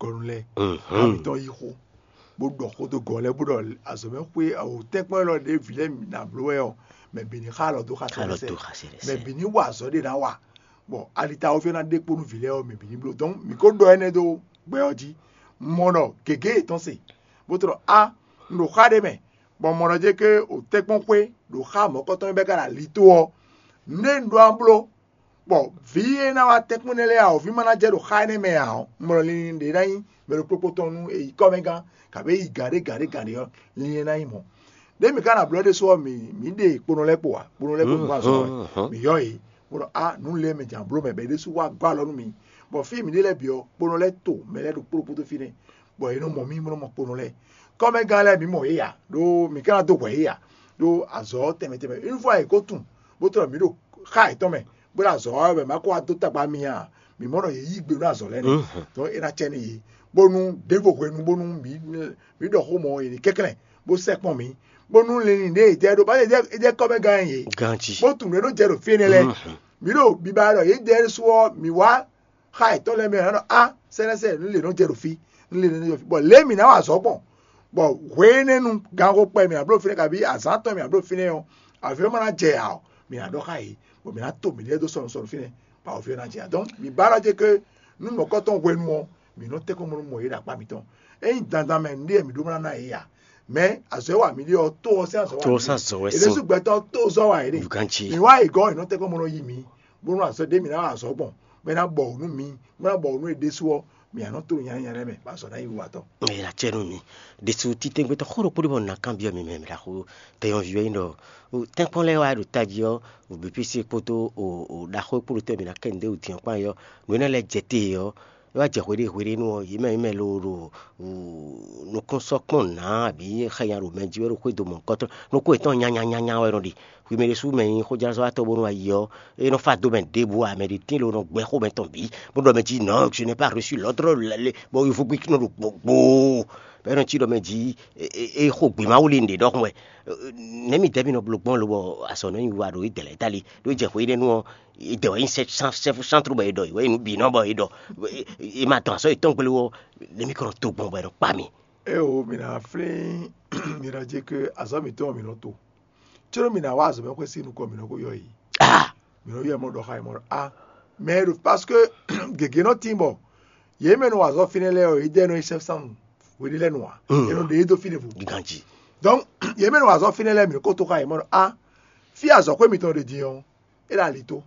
gɔnu lɛ́ɛ, ká mǐtɔn yí xó, bó ɖɔ xó dó gɔnu lɛ́ɛ, bó ɖɔ azɔ̌mɛxwé tɛ́nkpɔ́n élɔ́ ɖě vǐ lɛ́ɛ ná bló wɛ ɔ́, mɛ bǐ ní xa alɔ dó xa sɛnɛsɛ, mɛ bǐ ní wa azɔ̌ ɖé ná wa, bɔ alita ɔ́ fí ɔ́ ná ɖe kpó nú vǐ lɛ́ɛ ɔ́, mɛ bǐ ní bló. Donc mǐ ko ɖɔ énɛ́ dó gbɛ ɔ́ jí, mɔ ɖɔ gěgé yětɔn se, bó tlɔ á, un ɖo xá ɖé mɛ, bɔ mɔ ɖɔ jɛ ké o tɛ́nkpɔ́n xwé ɖo xá mɔ̌kɔtɔn e bɛ́ ká ɖo ali tó ɔ́, nǔɖé un ɖó ná bló, bɔ vǐ e ná wá tɛ́nkpɔ́n énɛ́ lɛ́ɛ awǒvi ma ná jɛ ɖo xá énɛ́ mɛ ǎ ɔ́, un mɔ ɖɔ linlin ɖě ná nyí mɛ ɖokpó tɔn nú è yi kɔ́mɛgán, kabǐ è yi gǎn ɖé gǎn ɖé gǎn ɖé ɔ́, linlin ná nyí mɔ̌. Ɖěe mǐ ka ná bló ɖésú ɔ́, mǐ mǐ ɖe kponɔ lɛ́ɛ kpo ǎ, kponɔ lɛ́ɛ kpo nǔ azɔn ɔ́, mǐ yɔ yě, bó ɖɔ á nǔ lɛ́ɛ mɛ jǎn bló mɛ bɔ é ɖésú wá gɔ́ alɔ nú mǐ, bɔ fí e mǐ ɖe lɛ́ɛ bǐ ɔ́, kponɔ lɛ́ɛ to mɛ lɛ́ɛ ɖokpó ɖokpó dó fínɛ́, bɔ è nɔ mɔ mì, bó nɔ mɔ kponɔ lɛ́ɛ. Kɔ́mɛgán lɛ́ɛ mǐ mɔ yě ǎ, ɖó mǐ ka ná dó hwɛ yě ǎ, ɖó azɔ̌ tɛnmɛ tɛnmɛ. Une fois è ko tunwun, bó tlɔ mǐ ɖo xá yětɔn mɛ, bó ɖo azɔ̌ wa wɛ bɔ è ma ko wá dó tagba mì ǎ, mǐ mɔ ɖɔ yě yí gbe nú azɔ̌ lɛ́ɛ nɛ́. Donc é ná cɛ nú yě, bónú ɖěvo hwenu bónú mǐ mǐ ɖɔ xó mɔ yě ní kɛnklɛ́n, bó sɛkpɔ́n mǐ, bónú linlin ɖě è jɛ ɖó, bá è jɛ kɔ́mɛgán yě, Ganjí. Bó tunwun nǔ e nɔ jɛ ɖo fí énɛ́ lɛ́ɛ. Mǐ ɖo biba ɖɔ yě jɛ ɖésú ɔ́, mǐ wá xa yětɔn lɛ́ɛ mɛ ɔ́, nɔ á sɛ́nɛsɛ nǔ lě nɔ jɛ ɖo fí, nǔ lě nɔ jɛ ɖo fí, bɔ lě e mǐ ná wa azɔ̌ gbɔn, bɔ hwenɛ́nu ganxó kpɛ mǐ ná bló fínɛ́, kabí azǎn tɔn mǐ ná bló fínɛ́ ɔ́, avǐ ɔ́ ma ná jɛ ǎ ɔ́, mǐ ná ɖɔ xá yě, bɔ mǐ ná to mǐɖée dó sɔnusɔnu fínɛ́, bɔ avǐ ɔ́ ná jɛ ǎ. Donc mǐ ba ɖɔ jɛ ke Nú mɔ̌kɔtɔn hwenu ɔ́, mǐ nɔ tɛ́nkpɔ́n bónú mɔ yě ɖo akpá mitɔn. Ényí dandan mɛ nǔɖé mǐ ɖó ná ná yě a? Mɛ azɔ̌ e wa mǐ ɖe ɔ́, to ɔ́ sín azɔ̌ wa. To ɔ́ sín azɔ̌ wɛ sín. Ɖésú gbɛtɔ́ to zɔ́ wa yě ɖe. Ganjí. Mǐ wá yě gɔ́, è nɔ tɛ́nkpɔ́n bónú yí mǐ, bónú azɔ̌ ɖé mǐ ná wa azɔ̌ gbɔn, bɔ é ná bɔ wǔ nú mǐ, bó ná bɔ wǔ nú è ɖésú ɔ́, mǐ ná nɔ to nyanyanyan lɛ́ɛ mɛ, bɔ azɔ̌ ná nyí wiwa tɔn. Mɛ e ná cɛ nú mi ɖésú títɛ́ngbɛ́tɔ́ xó ɖokpó ɖé bɔ un ná kanbyɔ́ mi mɛ, mi ɖaxó tɛnyɔ́ví ɔ́ nyí ɖɔ tɛ́nkpɔ́n lɛ́ɛ wá ɖo tají ɔ́, B P C kpódó ɖaxó e kpódó tɛ́ mǐ ná kɛ nǔɖé wǔ din ɔ́ kpán é ɔ́, nǔ énɛ́ lɛ́ɛ jɛ te ɔ́, é wá jɛ hweɖé hweɖé nú ɔ́, yě mɛ yě mɛ lo ɖo nukúnsɔ́kpɔ́n nǎ abǐ xɛnya ɖo mɛ jí wɛ ɖo xwédo mɔ̌hunkɔtɔn. Nukún yětɔn nyanya nyanya wɛ nɔ ɖe. Hwi mɛ ɖésú mɛ nyí xójlázɔ́watɔ́ bónú ayi ɔ́, é nɔ fá dó mɛ ɖěbǔ ǎ, mɛ ɖě tín lo nɔ gbɛ́ xó mɛtɔn bǐ, bó ɖɔ mɛ jí nɔ, je n'ai pas reçu l'ordre, bɔ yovógbí nɔ ɖo gbogbo, bɔ é nɔ cí ɖɔ mɛ jí é xo gbě Mawu lí nǔɖé ɖɔhun wɛ. Nɛ̌ mi dɛ̌ mi nɔ bló gbɔn lobɔ azɔ̌ nɔ nyi wa ɖo idɛ̌ lɛ́ɛ tali, ɖó jɛ hwe énɛ́ nu ɔ́, idɛ̌ wɛ nyí sɛ́fúsántrú bɔ è ɖɔ, wɛ nyí nǔ bǐ nɔ bɔ è ɖɔ, è ma dɔn azɔ̌ yětɔn gblé ɔ́, nɛ̌ mi kɔ nɔ to gbɔn bɔ è nɔ kpa mi? Eo, mǐ ná flín mǐ ná jɛ ke azɔ̌ mǐtɔn mǐ nɔ to. Có mǐ ná wá azɔ̌ mɛ xwé sín nukɔn mǐ nɔ ko yɔ yě. Ah, Mǐ nɔ yɔ mɔ ɖɔ xá yě mɔ ɖɔ a mɛ e ɖo, parce que gěgé nɔ tín bɔ yě mɛ nɔ wa azɔ̌ fínɛ́ lɛ́ɛ ɔ́, yě dɛ nɔ yi sɛ́fúsánnu hweɖé lɛ́ɛ nu ǎ. Mm. È nɔ ɖe yě dó fínɛ́ vo. Ganjí. Donc yě mɛ nɔ wa azɔ̌ fínɛ́ lɛ́ɛ mǐ nɔ ko to xá yě mɔ ɖɔ a fí azɔ̌xwé mitɔn ɖe din ɔ́, é ɖo ali tó,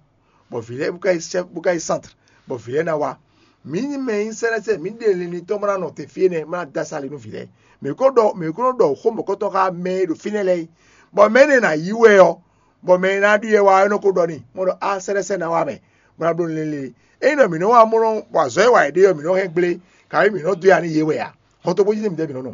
bɔ vǐ lɛ́ɛ bó ka yi sɛ́ bó ka yi sántre, bɔ vǐ lɛ́ɛ ná wá. Mǐ nyí mɛ e nyí sɛ́nɛ́sɛ́, mǐ ɖe linlin tɔn bó ná nɔ te fí énɛ́, bó ná dó asá ali nú vǐ lɛ́ɛ. Mǐ ko ɖɔ mǐ ko nɔ ɖɔ xó mɔ̌kɔtɔn xá mɛ e ɖo fínɛ́ lɛ́ɛ é, bɔ mɛ énɛ́ ná yí wɛ ɔ́, bɔ mɛ e ná ɖu yɛ wá ɔ́ é nɔ ko ɖɔ n'i, bó ɖɔ a sɛ́nɛ́sɛ́ ná wá mɛ, bó ná bló linlin lé. Ényí ɖɔ mǐ nɔ wá mɔ nɔ bɔ azɔ̌ e wa yě ɖe ɔ́ mǐ nɔ hɛn gblé, kabi mǐ nɔ dó ya nú yě wɛ ǎ. Xɔ́ntɔn bó jí nú mǐdɛɛ mǐ nɔ nɔ.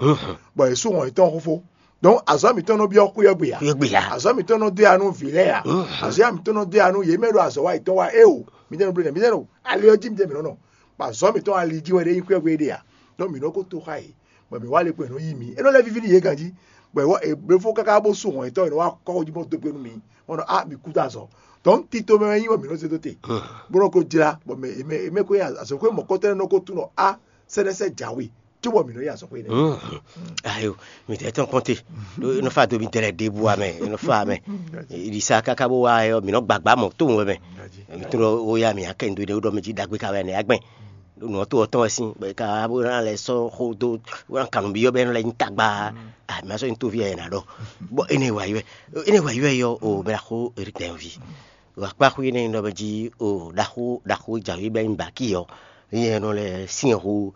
Bɔ yě sú wɔn yětɔn xófó. Donc azɔ̌ mǐtɔn nɔ byɔ́ xwé ɔ́ gbe ǎ. Xwé ɔ́ gbe ǎ. Azɔ̌ mǐtɔn nɔ dó ya nú vǐ lɛ́ɛ ǎ. Azɔ̌ ya mǐtɔn nɔ dó ya nú yě mɛ ɖo azɔ̌ wa yětɔn wa é o. Mǐdɛɛ nɔ bló nɛ́ mǐdɛɛ nɔ ali ɔ́ jí mǐdɛɛ mǐ nɔ nɔ. Bɔ azɔ̌ mǐtɔn ali jí wɛ ɖé nyí xwé ɔ́ gbe é ɖe ǎ. Donc mǐ nɔ ko to xá yě. Bɔ mǐ wá le kpo è nɔ yí mǐ. É nɔ lɛ́ víví nú yě ganjí. Bɔ è wɔ è bló fó káká bó sú wɔn yětɔn è nɔ wá kɔ́ xó jí bó dó gbe nú mǐ. Bɔ nɔ a mǐ kú dó azɔ̌. Donc tito mɛ wɛ nyí bɔ mǐ nɔ zé dó te. Bó nɔ ko jlá bɔ mɛ è mɛ è mɛ ko nyí azɔ̌xwé mɔ̌kɔtɔn nɔ ko tunɔ a sɛ́nɛsɛ́ jǎwe. Cóbɔ mǐ nɔ yi azɔ̌xwé nɛ́. Ayo, mi tɛ tɔn kɔnte. Nɔ fa do mi tɛlɛ ɖebu amɛ, nɔ fa amɛ. Ɖisa káká bó wá yɔ, mǐ nɔ gbàgbá mɔ tó wɛ mɛ. Mi tó nɔ ó yá mi akɛ ndo ɖe ó ɖɔ mi jí ɖagbe ka wɛ nɛ agbɛn. Nɔ tó ɔtɔn wɛ sín, bɛ ka bó na lɛ sɔ xó dó, bó na kanu bi yɔ bɛ nɔ lɛ nyi tagba. Ah, mɛ sɔ nyi tó vi yɛ na ɖɔ. Bɔ ene wa yɔ, ene wa yɔ yɔ o mɛ la xó eri tɛ vi. Wa kpa xó ene nɔ bɛ jí o ɖaxó ɖaxó jawi bɛ nyi baki yɔ. Yɛ nɔ lɛ sin xó